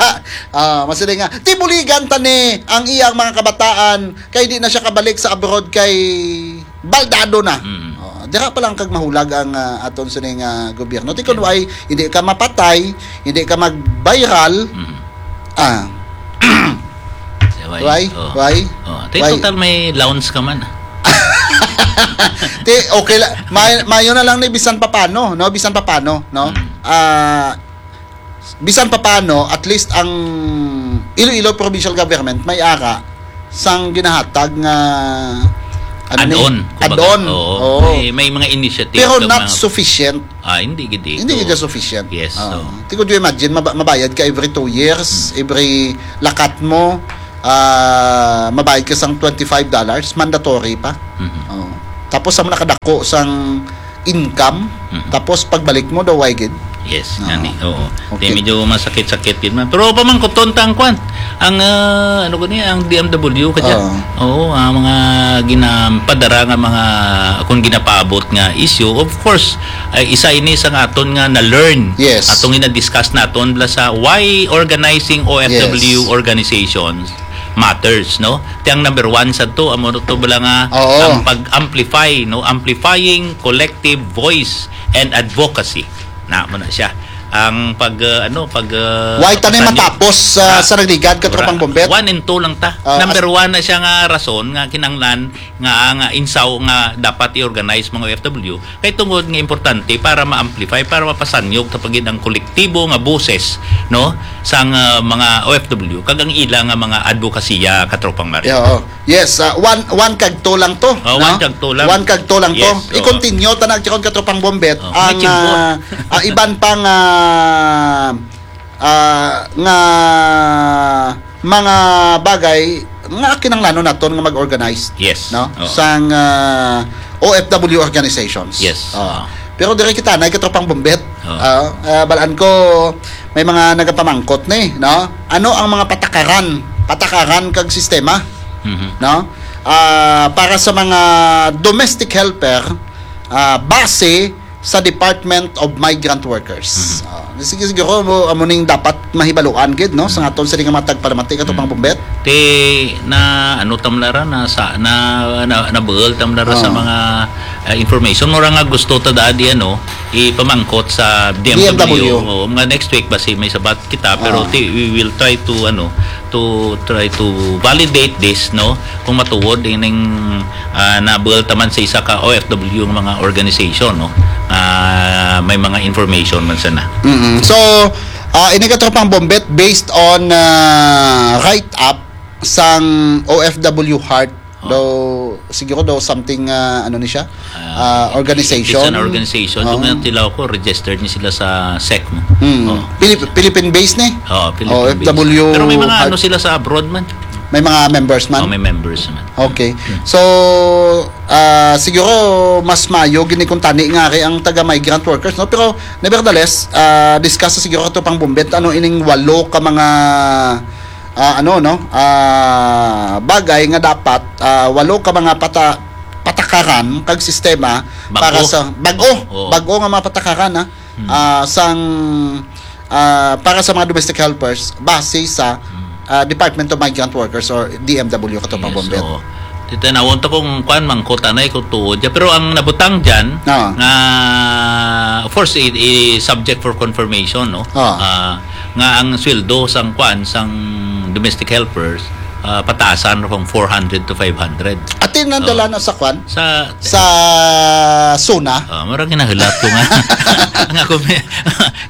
Ah, masiling nga, "Tibuligan ta ni ang iyang mga kabataan, kay di na siya kabalik sa abroad kay baldado na." Mm. Oh, dira pa lang kag mahulag ang, ah, aton sining, ah, gobyerno. Ti kun Yeah. way, hindi ka mapatay, hindi ka mag-viral, Mm. ah, Siya, why? Why? Oh. Why? Oh, ti Why? total may lounge ka man. Ti, okay la-, may-, mayo na lang ni bisan papano, no? Bisan papano, no? Mm. Ah, bisan papano, at least ang Iloilo Provincial Government may ara sang ginahatag nga, ano ni? Add-on, kumbaga. Add-on. Oo. Oo. May, may mga initiative Pero kag not mga sufficient. Ah, hindi gid eh. Hindi Oo. gid sufficient. Yes, Oo. oo. Ti, could you imagine, maba-, mabayad ka every two years, Hmm. every lakat mo, ah, mabayad ka sang twenty-five dollars, mandatory pa. Mhm. Oo. Tapos sa mga nakadako sang income, Mhm. tapos pagbalik mo daw, why gid? Yes, Oo. gani. Oo. Okay. Di, medyo masakit-sakit gid man. Pero pamangkuton ta ang kwan. Ang, ah, ano ko ni, ang D M W ka dyan. Oo. Oo, ang mga ginapadara nga mga, kung ginapaabot nga issue, of course, ay isa ini sa aton nga na-learn. Yes. Atong gina-discuss naton bala sa why organizing O F W Yes. organizations matters, no? Ti ang number one sa to, amo to bala nga Oo. ang pag-amplify, no? Amplifying collective voice and advocacy. Na mo na siya. Ang pag, uh, ano, pag, uh, Why ta ni pagpanyo- matapos, uh, Ah, sa nagligad, Katropang ra-, Bombet? one and two lang ta. Ah, Number as- one na siya nga rason nga kinahanglan nga ang, uh, insaw nga dapat i-organize mga O F W kay tungod nga importante para ma-amplify, para mapasanyog ta pagid ang kolektibo nga boses, no, sang, uh, mga O F W kag ang ila nga mga advokasya, Katropang Mario. Yeah, oo. Yes, ah, one, one kag two lang to, Oh, no? one kag two lang. One kag two lang to. Yes, oo. I-continue ta na, Katropang Bombet, Oh, ang, may chimpo. ah, ah, iban pang, ah, ah, nga mga bagay nga kinahanglanon naton nga mag-organize, Yes. no? Oo. Sang, ah, O F W organizations. Yes. Oh. Oo. Pero diri kita na, Katropang Bombet. Oo. Ah, ah, balaan ko may mga nagapamangkot ni, no? Ano ang mga patakaran, patakaran kag sistema, Mhm. no? Ah, para sa mga domestic helper, ah, base sa Department of Migrant Workers. Mhm. Ah, sige, siguro mo, amo ning dapat mahibaluan gid, no? Sa Mhm. aton sini nga mga tagpalamati, Katropang Mhm. Bombet. Ti na, ano, tam na ra, na sa, na, na, nabuhol tam na ra sa Ah. mga, ah, information. Mura nga gusto ta daan di, ano, ipamangkot sa D M W. D M W. Oo, mga next week basi may sabat kita, pero Ah. ti, we will try to, ano, to try to validate this, no? Kung matuod ining, ah, nabuhol ta man sa isa ka O F W nga mga organization, no? Ah, may mga information man sana. Mm-mm. So, ah, ini, Katropang Bombet, based on, ah, write-up sang O F W Heart, Oh. daw, siguro daw something, ah, ano ni siya? Ah, Ah, organization. It's an organization. Oh. Doon nga tilaw ko, registered ni sila sa sec, no? Mm. Oh. Philip-, Philippine based ni? Oh, Philippine based. O F W Pero may mga Heart. ano sila sa abroad man. May mga members man? Oh, may members man. Okay. Hmm. So, ah, siguro mas mayo gini kung tani nga ari ang taga migrant workers, no? Pero nevertheless, ah, discuss sa siguro, Katropang Bombet, ano ining walo ka mga, ah, ano, no? Ah, bagay nga dapat, ah, walo ka mga pata-, patakaran kag sistema Bag-o. para sa bag-o, Oo. bag-o nga mga patakaran, ha? Hmm. Ah, sang, ah, para sa mga domestic helpers base sa, Hmm. ah, Department of Migrant Workers or D M W, Katropang Yes, Bombet. oo. Titanawon to kung kwan, mangkutanay kung tuod ya. Pero ang nabutang dyan, Ah. nga, of course, i, i subject for confirmation, no? Ah. Ah, nga ang sweldo sang kwan, sang domestic helpers, ah, pataasan ra kung four hundred to five hundred. Ati nadala Oh. na sa kwan? Sa Sa SONA? Ah, murag ginahulat ko nga. Nga kung may,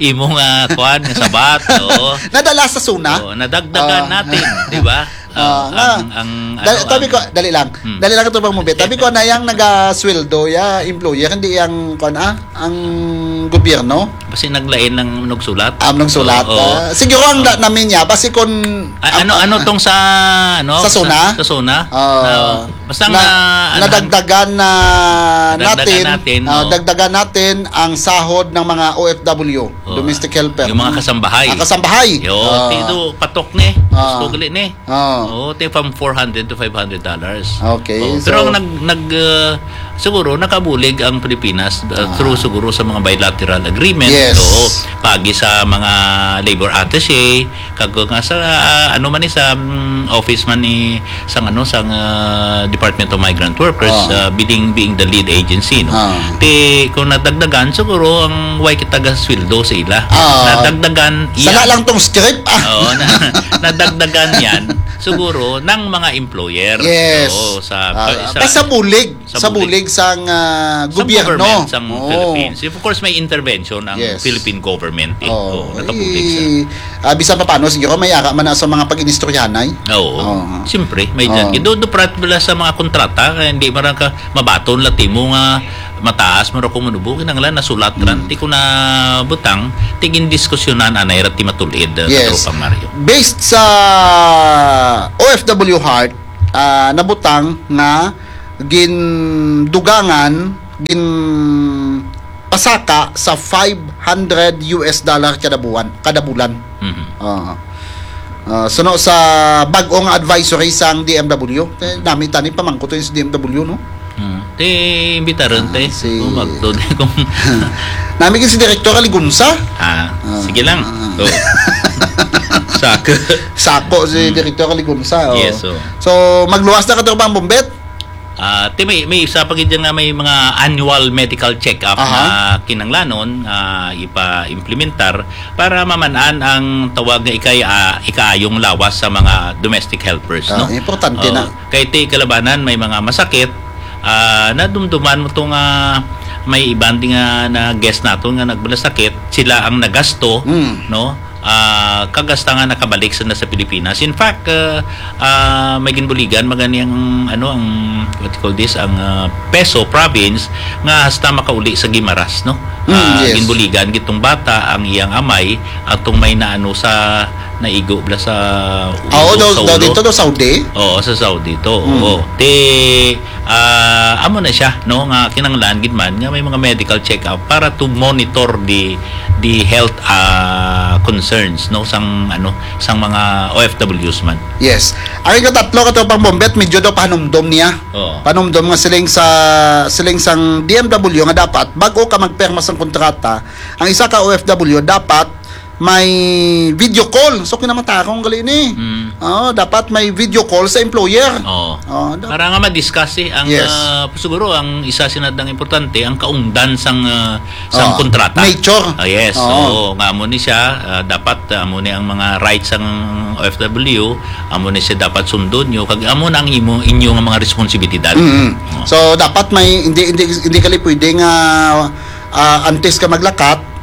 imo nga kwan, nga sabat, oo. Nadala sa SONA? Oo, nadagdagan Ah. natin, di ba? Ah, ah, nga. Ang, ang, Dali, ano, tabi ang ko, dali lang. Hmm. Dali lang ito pang mubit. Tabi ko na yang nagasweldo, ya, employer, hindi yang, kuwan, ah, ang gobyerno. Basi naglain lang nagsulat. Am, nagsulat, Oo, oo. ah. Siguro ang da-, namin niya, basi kung, A-, ano, ang, ano ah, tong sa, ano, sa SONA? sa, sa SONA? Ah, Na, basta na, nga, ano, nadagdagan na nadagdagan natin, natin, ah, oo. dagdagan natin ang sahod ng mga O F W, Oo. domestic helper. Yung mga Hmm. kasambahay. Ah, kasambahay. Yo, Ah. ti-, ito, patok ni. Ah. Gusto gali ni. Oh. Oo, ti from four hundred to five hundred dollars. Okay, Oh, pero so ang nag, nag, uh, siguro nakabulig ang Pilipinas, uh, Ah. through siguro sa mga bilateral agreement. Yes. Oo, pagi sa mga labor attaché, kag nga sa, uh, ano man ni sa, mm, office man ni sang ano, sang, uh, Department of Migrant Workers, Oh. uh, being, being the lead agency, no? Ah. Ti kung nadagdagan siguro ang way kita gasweldo sa ila. Ah. Nadagdagan Sala yan. lang tong script, ah. Oo, na, nadagdagan yan. Siguro, ng mga employers. Yes. Oo, sa, Ah, sa, basta bulig, sa sa bulig. bulig sang, ah, Sa gobyerno. government, sa Oo. Philippines. Of course, may intervention ang Yes. Philippine government, eh. Oo. Oo, nakabulig sa I-, ah, bisan pa paano, siguro, may ara man na sa mga pag-inistoryahanay. Oo. Oo. Siyempre, may Oo. dyan. Do, do, prat, wala sa mga kontrata, kaya hindi marang ka, mabaton la timo nga mataas man ra kung manubo, kinahanglan nasulat ra. Mm. Ti ko na butang, ti gindiskusyonan anay ra ti matulid, uh, Yes. Katropang Mario. Based sa O F W Heart, ah, nabutang nga gindugangan, ginpasaka sa five hundred U S dollar kada buwan, kada bulan. Mhm. Oo. Ah, suno sa bag-o nga advisory sang D M W. Te, Mhm. nami tani pamangkot sa D M W, no? Hmm. Ti imbitaron, Ah, te. si Kung magtod, kung Nami gid si Direktor Aligunsa. Ah, Ah, sige lang. ah. Oh. Sako. Sako si Hmm. Direktor Aligunsa, oh. Yes, oh. So, magluwas na ka, Tropang Bombet? Ah, ti may, may isa pa gid nga may mga annual medical check-up Aha. na kinanglanon nga ipa-implementar para maman-an ang tawag nga ikay, ah, ikaayong lawas sa mga domestic helpers, Ah, no? importante Oh, na. Kay ti kalabanan may mga masakit, ah, nadumduman mo to nga may iban di nga na guest naton nga nagbalasakit, sila ang nagasto, Mm. no? Ah, kagasta nga nakabalik sa, na sa Pilipinas. In fact, ah, ah, may ginbuligan magani ang, ano, ang, what you call this, ang, ah, Peso province nga hasta makauli sa Guimaras, no? Mm, Ah, yes. ginbuligan gitong bata, ang iyang amay, atong may naano sa naigo bala sa Ah, oo, ulo, daw, sa daw ulo. dito, daw Saudi? Oo, sa Saudi to. Mm. Oo. Ti, ah, amo na siya, no, nga kinahanglan gid man nga may mga medical check-up para to monitor the, the health, ah, concerns, no, sang, ano, sang mga O F Ws man. Yes. Ang ikatatlo, Katropang Bombet, medyo daw panumdom niya. Oo. Panumdom nga siling sa, siling sang D M W nga dapat, bago ka magpirma sang kontrata, ang isa ka O F W dapat may video call. So, kinamatarong gali ni. Mm. Oo, dapat may video call sa employer. Oo. Oo, da- Para nga ma-discuss, eh, ang, Yes. ah, siguro ang isa sinadang importante, ang kaungdan sang, ah, sang Oo. kontrata. Nature. Ah, yes. Oo. Oo, nga amo ni siya, ah, dapat, ah, amo ni ang mga rights sang O F W, amo ni siya dapat sundon nyo, kag amo na ang imo, inyo nga mga responsibilidad. Mm. Oo. So, dapat may, hindi, hindi, hindi gali pwede nga, ah, antes ka maglakat,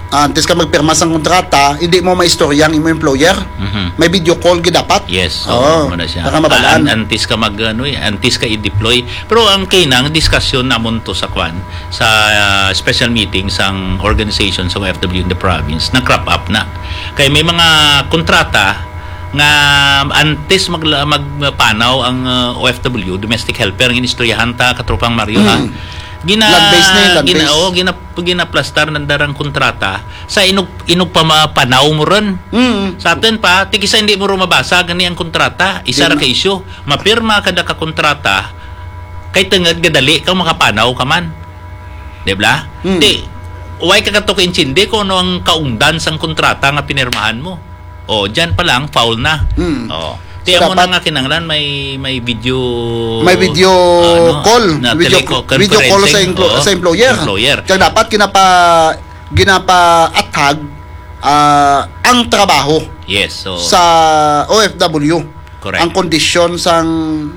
antes ka magpirma sang kontrata, hindi mo maistorya ang imo employer. Mhm. May video call gid dapat. Yes, Oo, oo, amo na siya. para mabalaan. An-, antes ka mag, ano, eh, antes ka i-deploy. Pero ang kinang diskusyon namon to sa kwan, sa, ah, special meeting sang organization sa O F W in the province, nag-crop up na. Kay may mga kontrata nga antes magla-, magpanaw ang, ah, O F W, domestic helper, ang inistoryahan ta, Katropang Mario, ha? Mm. Gina-, Land-based na yun, gina-, land-based. oh, gina-, ginaplastar ng darang kontrata sa inug-, inugpamapanaw mo ron. Mm. Sa atin pa, ti kisa hindi mo ron mabasa, gani ang kontrata, isa Di ra ma- ka issue. Mapirma ka da ka kontrata, kay tungod gadali ka makapanaw ka man. Di ba? Mm. Ti, way ka kato kaintindi kung ano ang kaungdan sang kontrata nga pinirmahan mo. O, dyan pa lang, foul na. Mm. O. Ti, So, amo na dapat nga kinahanglan may, may video, May video ano, call. na Video, teleco-, video call sa conferencing. emplo-, Oo, sa employer. employer. Kaya dapat ginapa-, ginapaathag, ah, ang trabaho Yes, so sa O F W. Correct. Ang kondisyon sang,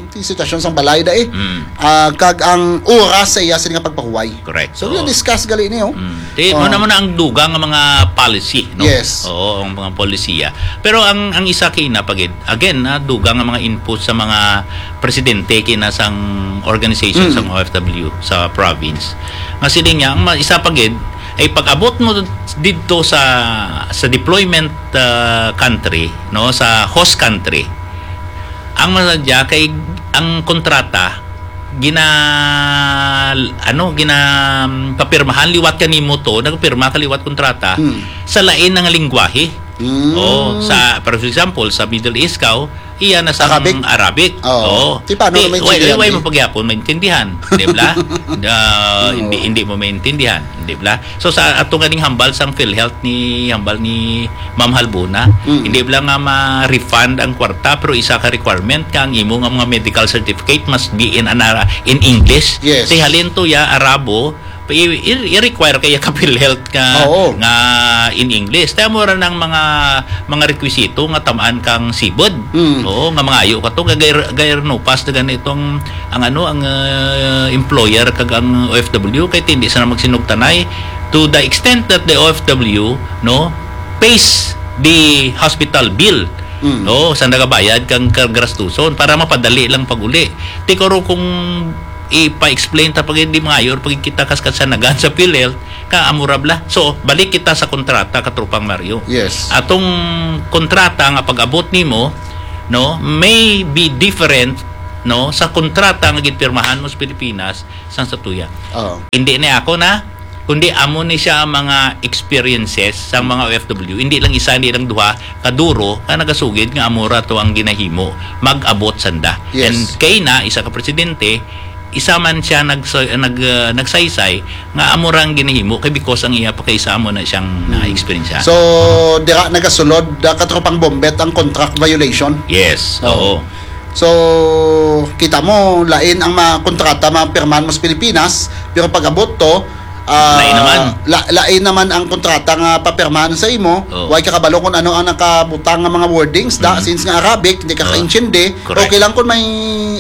di, sitwasyon sang balay dai. Mm. Ah, kag ang oras sa iya sini nga pagpahuway. Correct. So, Oo. na-discuss gali niyo. Mm. Di, Oh. mo na, mo na ang dugang nga mga policy, no? Yes. Oo, ang mga polisiya. Pero ang, ang isa kay na pagid, again, na dugang nga mga input sa mga presidente kina sang organization Mm. sang O F W sa province. Nga sila niya, ang ma-, isa pagid, ay pag-abot mo dito sa, sa deployment, ah, country, no, sa host country, ang masadya kay ang kontrata gina, ano, gina, papirmahan liwat kanimo to, nagpirma ka liwat kontrata Hmm. sa lain nga lingwahe. Hmm. Oh, sa, for example, sa Middle East ka, oh, iya na sa Arabic? Arabic. Oo. Oo. Di paano Di, na why, maintindihan, why eh? mo pagyapon maintindihan, di ba? Ah, Oo. hindi, hindi mo maintindihan, di ba? So, sa ato ganing hambal sang PhilHealth ni, hambal ni Ma'am Halbuna, Mm. hindi lang nga ma-refund ang kwarta, pero isa ka requirement ka ang imo nga mga medical certificate must be in an Ara-, in English. Yes. Ti halin to ya Arabo, i-, i-, i-require kaya ka PhilHealth nga, Oo. nga in English. Kaya mo ra ng mga, mga requisito nga tamaan kang sibod. Mm. Oo, nga mangayo ka to, kay gair-, gair no pass na ganito ang, ang ano, ang, ah, employer kag ang O F W, kay hindi sila magsinugtanay to the extent that the O F W, no, pays the hospital bill. Mm. No, sa nagabayad kang kagastuson para mapadali lang pag-uli. Tikoro kung ipa-explain ta pag hindi mangayo, pag kita kas kasanagan sa PhilHealth, ka amura bla. So, balik kita sa kontrata, Katropang Mario. Yes. Atong kontrata nga pag-abot nimo, no, may be different, no, sa kontrata nga ginpirmahan mo sa Pilipinas sang sa tuya. Oo. Hindi ni ako na, kundi amo ni siya ang mga experiences sang mga O F W. Hindi lang isa, hindi lang duha, kaduro, ka nagasugid nga amura to ang ginahimo, mag-abot sanda. Yes. And kay na, isa ka presidente, isa man siya nagsa-, nag-, uh, nagsaysay nga amo ra ang ginahimo kay because ang iya pa kay isa amo na siyang Hmm. na-experience. So, dira nagasulod, uh, Katropang Bombet, ang contract violation? Yes, Oo. oo. So, kita mo, lain ang mga kontrata mapirmahan mo sa Pilipinas, pero pag-abot to, ah, Lain naman. la-, lain naman ang kontrata nga papirmahan sa imo. Oo. Way ka kabalo kung ano ang nakabutang nga mga wordings, da, Mm. since nga Arabic, hindi ka Oo. kaintindi. Correct. Okay lang kung may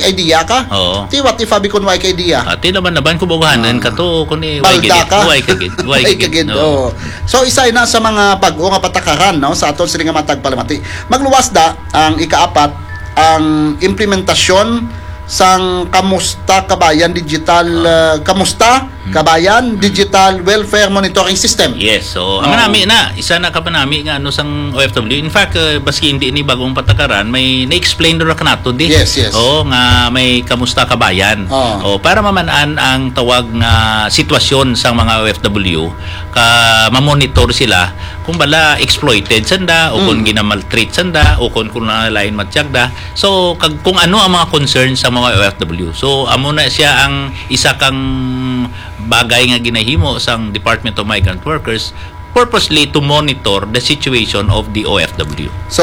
idea ka. Oo. Ti, what if abi kung way ka idea? Ati naman naman kung bugahanan Ah. ka to, kung i-, way Balda gid, ka. way ka gid, way Way ka gid, gid, oo. oo. So, isa na sa mga bag-o nga patakaran, no, sa aton sini nga matag palamati. Magluwas da ang ikaapat, ang implementasyon sang Kamusta Kabayan Digital, Ah. uh, Kamusta Hmm. Kabayan Hmm. Digital Welfare Monitoring System. Yes, so, ang Oo. manami na, isa na ka manami nga ano sang O F W. In fact, uh, baski hindi ni bagong patakaran, may na-explain ra kanato di. Yes, yes. Oo, nga may Kamusta Kabayan. Oo. O, para maman-an ang tawag nga sitwasyon sang mga O F W, ka mamonitor sila kung bala exploited sanda o kung Mm. ginamaltreat sanda o kung, kung na lain matyagda. So, kag, kung ano ang mga concerns sa mga O F W. So, amo na siya ang isa kang bagay nga ginahimo sang Department of Migrant Workers purposely to monitor the situation of the O F W. So,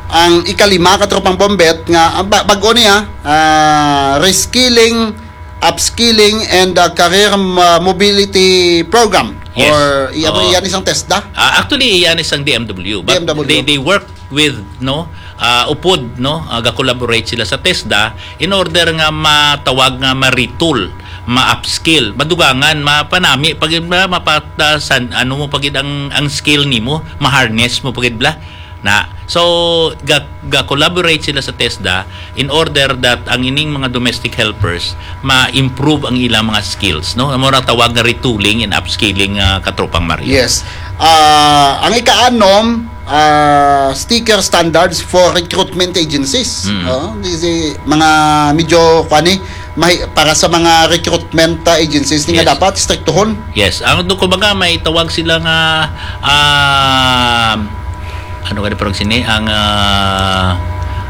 ang ikalima, Katropang Bombet, nga, ah, ba-, bag-o niya, ah, reskilling, upskilling, and, ah, career, ah, mobility program. Yes. Or, iya, Oo. iya ni sang TESDA? Ah, actually, iya ni sang D M W. But D M W. they, they work with, no, ah, upod, no, ah, ga-collaborate sila sa TESDA in order nga matawag nga ma-retool, ma-upskill, madugangan, mapanami pagid ba, mapatasan, ano mo pagid ang, ang skill nimo, ma-harness mo pagid bla. Na, so, ga-, ga-collaborate sila sa TESDA in order that ang ining mga domestic helpers ma-improve ang ilang mga skills, no? Amo ra tawag nga retooling and upskilling, ah, Katropang Mario. Yes. Ah, ang ikaanom, ah, sticker standards for recruitment agencies. Mm. Oh, di si mga medyo, kuwan eh, may, para sa mga recruitment, ah, agencies, ni nga Yes. dapat striktuhon. Yes. Ang do, kumbaga, may tawag sila nga, ah, ano ka parang sini, ang, ah,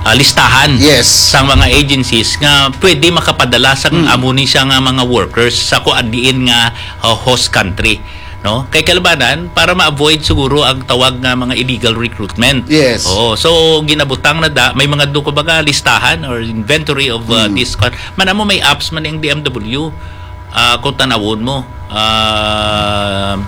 ah, listahan Yes. sa mga agencies nga pwede makapadala sa Mm. amo ni siya nga mga workers sa kuan diin nga, ah, host country, no? Kay kalabanan, para ma-avoid siguro ang tawag nga mga illegal recruitment. Yes. Oo. So, ginabutang na da, may mga do, kumbaga, listahan or inventory of, ah, Mm. this con-, man amo may apps man ang D M W, ah, kung tanawon mo, ah,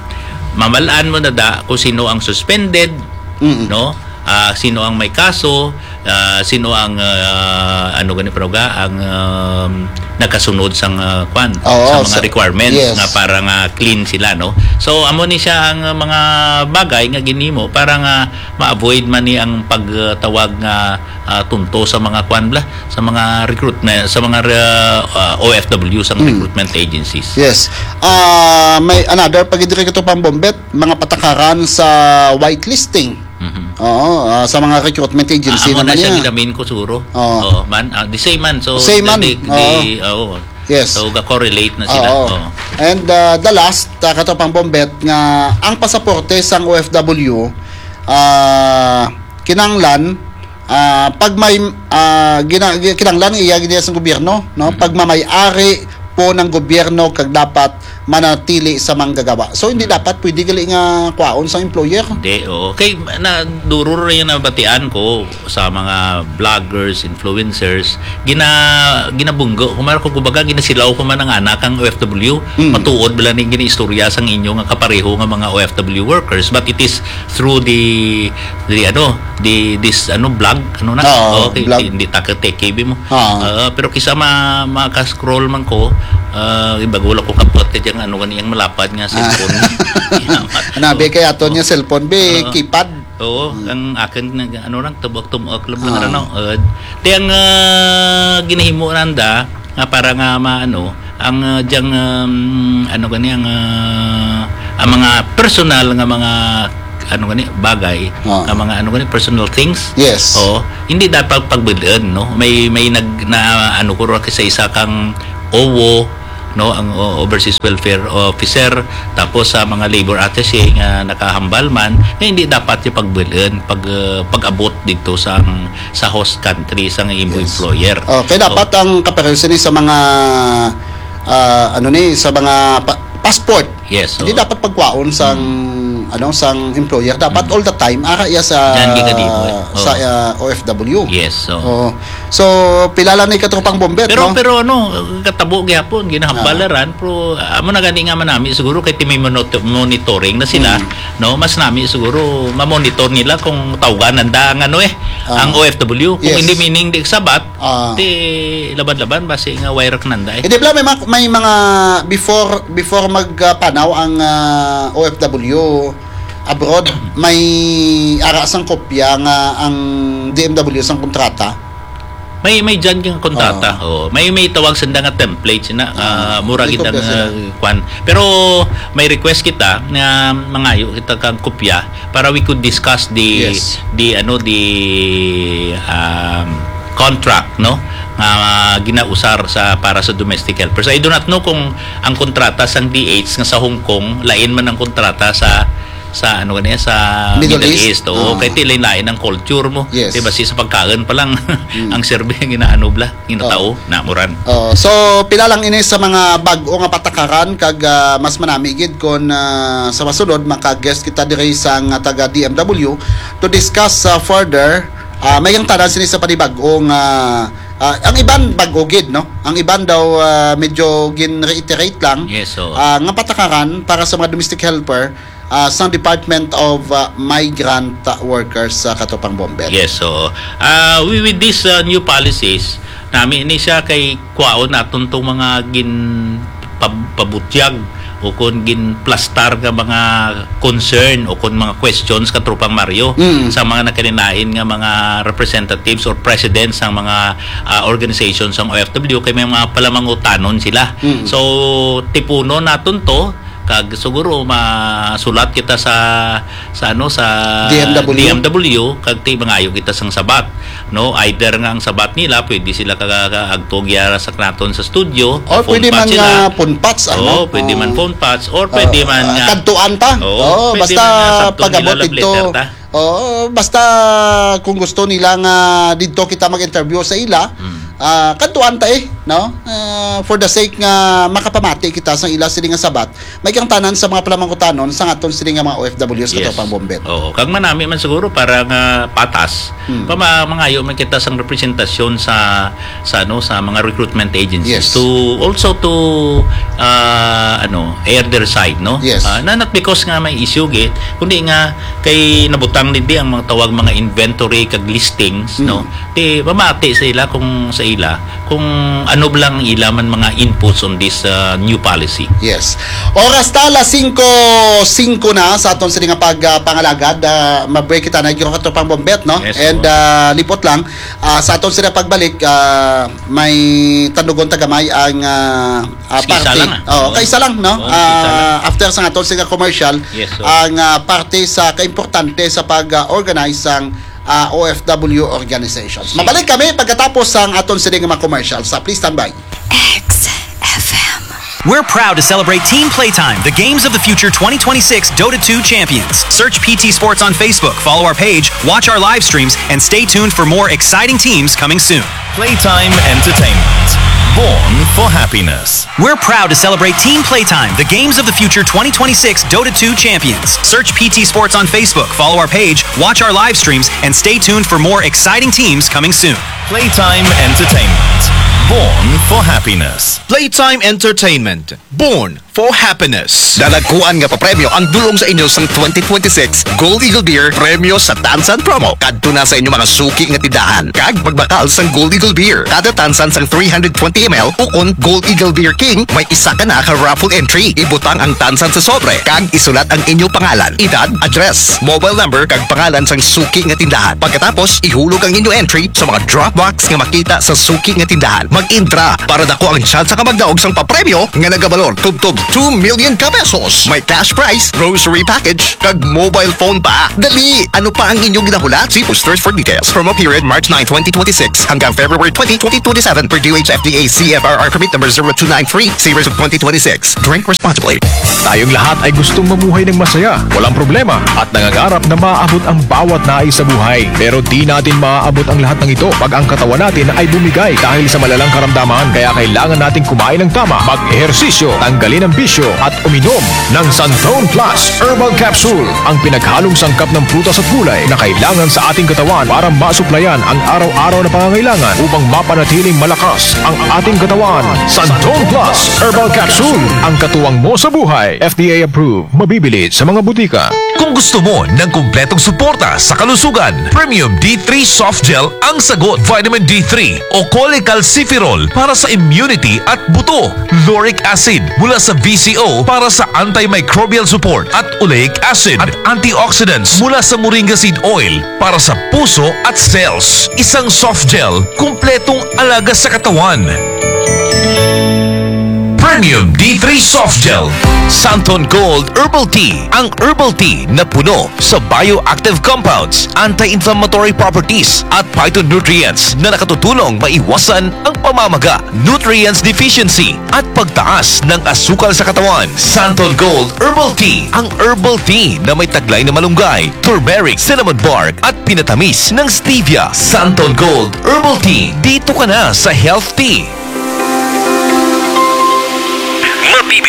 mamalaan mo na da kung sino ang suspended, Mm. no? Ah, sino ang may kaso, Ah, sino ang, ah, ano gani, Proga, ang, um, nakasunod sang, ah, kwan, Oo, sa mga sa requirements, yes, nga para nga clean sila, no? So, amo ni siya ang, ah, mga bagay nga ginhimo para nga ma-avoid man ni ang pagtawag nga, ah, tunto sa mga kwan bla, sa mga recruitment, sa mga, ah, ah, O F W, sa Mm. recruitment agencies. Yes. Ah, may another pa gid diri, Katropang Bombet, mga patakaran sa whitelisting. Mhm. Oo, ah, sa mga recruitment agency Ah, amo na naman siya yan. Ginamin ko siguro. Oo. Oo, man, ah, the same man. So, Same the, man. the, the, Oo. oo. Yes. So, ga-correlate na sila. Oo. Oo. And, ah, the last, ah, Katropang Bombet, nga ang pasaporte sang O F W, ah, kinahanglan, ah, pag may, ah, gina-, gi-, kinahanglan nga iya gid sa gobyerno, no? Mhm. Pag mamay-ari po ng gobyerno kag dapat manatili sa manggagawa. So, hindi Mm. dapat pwede gali nga kwaon sa employer. Hindi, oo. Kay, na, duro ra yung nabatian ko sa mga vloggers, influencers, gina-, ginabunggo ko man, kung kumbaga, ginasilaw ko man ang anak ang O F W. Mm. Matuod bala ni ginaistorya sang inyo nga kapareho nga mga O F W workers, but it is through the, the, ano, the, this, ano, blog, ano na? Oo, Okay, blog. Hindi ta ka tech K B mo. Oo. Ah, pero kisa ma-, maka-scroll man ko, ah, ibago lang ko kapot ka dyan, ano, gani ang malapad nga Ah. cellphone. Yamat. Nabi Oo. kay aton nga Oo. cellphone, be, Oo. keypad. Oo, Hmm. ang akin, nag-, ano lang, tubok-tubok lang man, Ah. ano, uh, di ang, ah, ginahimo nanda, nga para nga maano, ang, ah, diyang, um, ano gani, ang, ah, ang mga personal nga mga, ano gani, bagay, Ah. nga mga, ano gani, personal things. Yes. Oo, hindi dapat pagbulon, no? May, may nag-, na, ano ko ra sa isa kang O W O, no, ang o-, Overseas Welfare Officer, tapos sa mga labor attaché nga nakahambal man, nga hindi dapat yung pagbulon, pag, ah, pag-abot dito sa, sa host country, sa imo Yes. employer. Oh, kaya So, dapat ang kapareho sini sa mga, ah, ano ni, sa mga pa-, passport. Yes, Hindi oo. dapat pagkwaon sang, Mm. ano, sang employer. Dapat Mm. all the time, ara iya sa, Diyan gid ka di mo, eh. sa, Oo. ah, O F W. Yes, oo. Oo. So, pila lang ni Katropang Bombet, Pero, no? pero ano, katabo gihapon, ginahambal Ah. na ran, pero, ah, amo na gani nga manami, siguro kay ti may monito-, monitoring na sila, Mm. no? Mas nami siguro mamonitor nila kung tawgan nanda ang ano eh, Ah. ang O F W. Kung Yes. hindi meaning di sabat, Ah. ti laban-laban, basi nga wire nanda eh. Hindi pala, may mga, may mga before, before mag, ah, panaw ang, ah, O F W abroad, may ara sang kopya nga ang D M W sang kontrata. May, may dyan kang kontrata. Oo. Oo. May, may tawag sanda nga template sina, Oo. ah, mura May gid ang, kopya sila. ah, kwan. Pero may request kita nga mangayo kita kang kopya para we could discuss the, Yes. the, ano, the, um, contract, no? Nga ginausar sa, para sa domestic helpers. I do not know kung ang kontrata sang D H nga sa Hong Kong, lain man ang kontrata sa, sa, ano gani, sa Middle Middle East. East. Oo, Ah. kay ti lain-lain ang culture mo. Yes. Di ba, si, sa pagkaon pa lang, Mm. ang serbi ang ginaano bla, ginatao, Oo. namuran. Oo. So, pila lang ini sa mga bag-o nga patakaran kag, ah, mas manami gid kon, ah, sa masunod maka-guest kita diri sa nga taga D M W to discuss, ah, further. Ah, may ang tanan sini sa panibag-o nga, ah, ang iban bag-o gid, no? Ang iban daw, ah, medyo gin-reiterate lang. Yes, oo. Ah, nga patakaran para sa mga domestic helper, ah, sa Department of, ah, Migrant Workers sa Katropang Bombet. Yes, so, ah, we, with these, ah, new policies, nami ni siya kay kwaon naton tong mga gin pab-, pabutyag o kon ginplastar nga mga concern o kon mga questions, Katropang Mario, Mm. sa mga nakalinain nga mga representatives or presidents sang mga, ah, organizations sang O F W, kay may mga palamangutanon sila. Mm. So, tipunon naton to, kag siguro masulat kita sa, sa ano, sa D M W. D M W, kag ti mangayo kita sang sabat, no? Either nga ang sabat nila, pwede sila kaga-, kaagto gyara sa naton sa studio, Or phone pwede patch man sila. nga phone patch, Oo, ano? pwede man Oo. phone patch, or pwede Oo, man ah, nga kadtuan ta. Oo, Oo, pwede basta man nga sabton pag-abot nila love dito. letter ta. Oo, basta kung gusto nila nga dito kita mag-interview sa ila, Mm. ah, kadtuan ta, eh, no? Ah, for the sake nga makapamati kita sa ila sini nga sabat, may kang tanan sa mga palamangkutanon sa aton sini nga mga O F Ws, Yes. Katropang Bombet. Oo, kag manami man siguro para nga patas, Hmm. pa ma-, mangayo man kita sang representasyon sa, sa, ano, sa mga recruitment agencies Yes. to also to, ah, ano, air their side, no? Yes. Ah, na, not because nga may issue gid, kundi nga kay nabutang din di ang mga tawag mga inventory kag listings, Hmm. no? Ti pamati sa ila kung sa ila kung ano lang ang ila man mga inputs on this, uh, new policy. Yes. Oras ta, alas singko singko na sa aton sini nga pag, ah, pangalagad. Ah, ma-break kita na gyud, Katropang Bombet, no? Yes, And, oo. ah, lipot lang, ah, sa aton sini pagbalik, ah, may tandugon ta gamay ang, ah, ah, Isa parte. lang, ah. Oo, Oo. kaisa lang, no? Oo, Ah, isa lang. after sa aton sini nga commercial, Yes, oo. ang, ah, parte sa kaimportante sa pag, ah, organize sang, ah, O F W organizations. Sige. Mabalik kami pagkatapos sang aton sini nga mga commercial. Sa, please stand by. X F M. We're proud to celebrate Team Playtime, the Games of the Future twenty twenty-six Dota two champions. Search P T Sports on Facebook, follow our page, watch our live streams, and stay tuned for more exciting teams coming soon. Playtime Entertainment. Born for happiness. We're proud to celebrate Team Playtime, the Games of the Future twenty twenty-six Dota two champions. Search P T Sports on Facebook, follow our page, watch our live streams, and stay tuned for more exciting teams coming soon. Playtime Entertainment. Born for happiness. Playtime Entertainment. Born for happiness. Dadagkuan nga papremyo ang dulong sa inyo sang twenty twenty-six Gold Eagle Beer Premyo sa Tansan Promo. Kadto na sa inyo mga suki nga tindahan kag magbakal sang Gold Eagle Beer. Kada tansan sang three hundred twenty M L ukon Gold Eagle Beer King, may isa ka na ka raffle entry. Ibutang ang tansan sa sobre kag isulat ang inyo pangalan, edad, address, mobile number kag pangalan sang suki nga tindahan. Pagkatapos, ihulog ang inyo entry sa mga drop box nga makita sa suki nga tindahan. Mag-intra para dako ang tsansa ka magdaog sang papremyo nga nagabalor tubtob two million ka pesos. May cash prize, grocery package, kag mobile phone pa. Dali, ano pa ang inyong ginahulat? See posters for details. Promo period March nine, twenty twenty-six hanggang February twenty, twenty twenty-seven per D O H F D A C F R R permit number zero two nine three, series of twenty twenty-six. Drink responsibly. Tayong lahat ay gustong mamuhay ng masaya, walang problema, at nangangarap na maabot ang bawat nais sa buhay. Pero di natin maaabot ang lahat ng ito pag ang katawan natin ay bumigay dahil sa malalang karamdaman. Kaya kailangan nating kumain ng tama, mag-ehersisyo, tanggalin ang bisyo, at uminom ng Santon Plus Herbal Capsule, ang pinaghalong sangkap ng prutas at gulay na kailangan sa ating katawan para masuplayan ang araw-araw na pangangailangan upang mapanatiling malakas ang ating katawan. Santon Plus Herbal Capsule, ang katuwang mo sa buhay. F D A approved. Mabibili sa mga butika. Kung gusto mo ng kumpletong suporta sa kalusugan, Premium D three Soft Gel ang sagot. Vitamin D three o cholecalciferol para sa immunity at buto, lauric acid mula sa V C O para sa antimicrobial support at oleic acid at antioxidants mula sa moringa seed oil para sa puso at cells. Isang soft gel, kumpletong alaga sa katawan. Premium D three Soft Gel. Santon Gold Herbal Tea, ang herbal tea na puno sa bioactive compounds, anti-inflammatory properties, at phytonutrients na nakatutulong maiwasan ang pamamaga, nutrients deficiency, at pagtaas ng asukal sa katawan. Santon Gold Herbal Tea, ang herbal tea na may taglay na malunggay, turmeric, cinnamon bark, at pinatamis ng stevia. Santon Gold Herbal Tea, dito ka na sa health tea.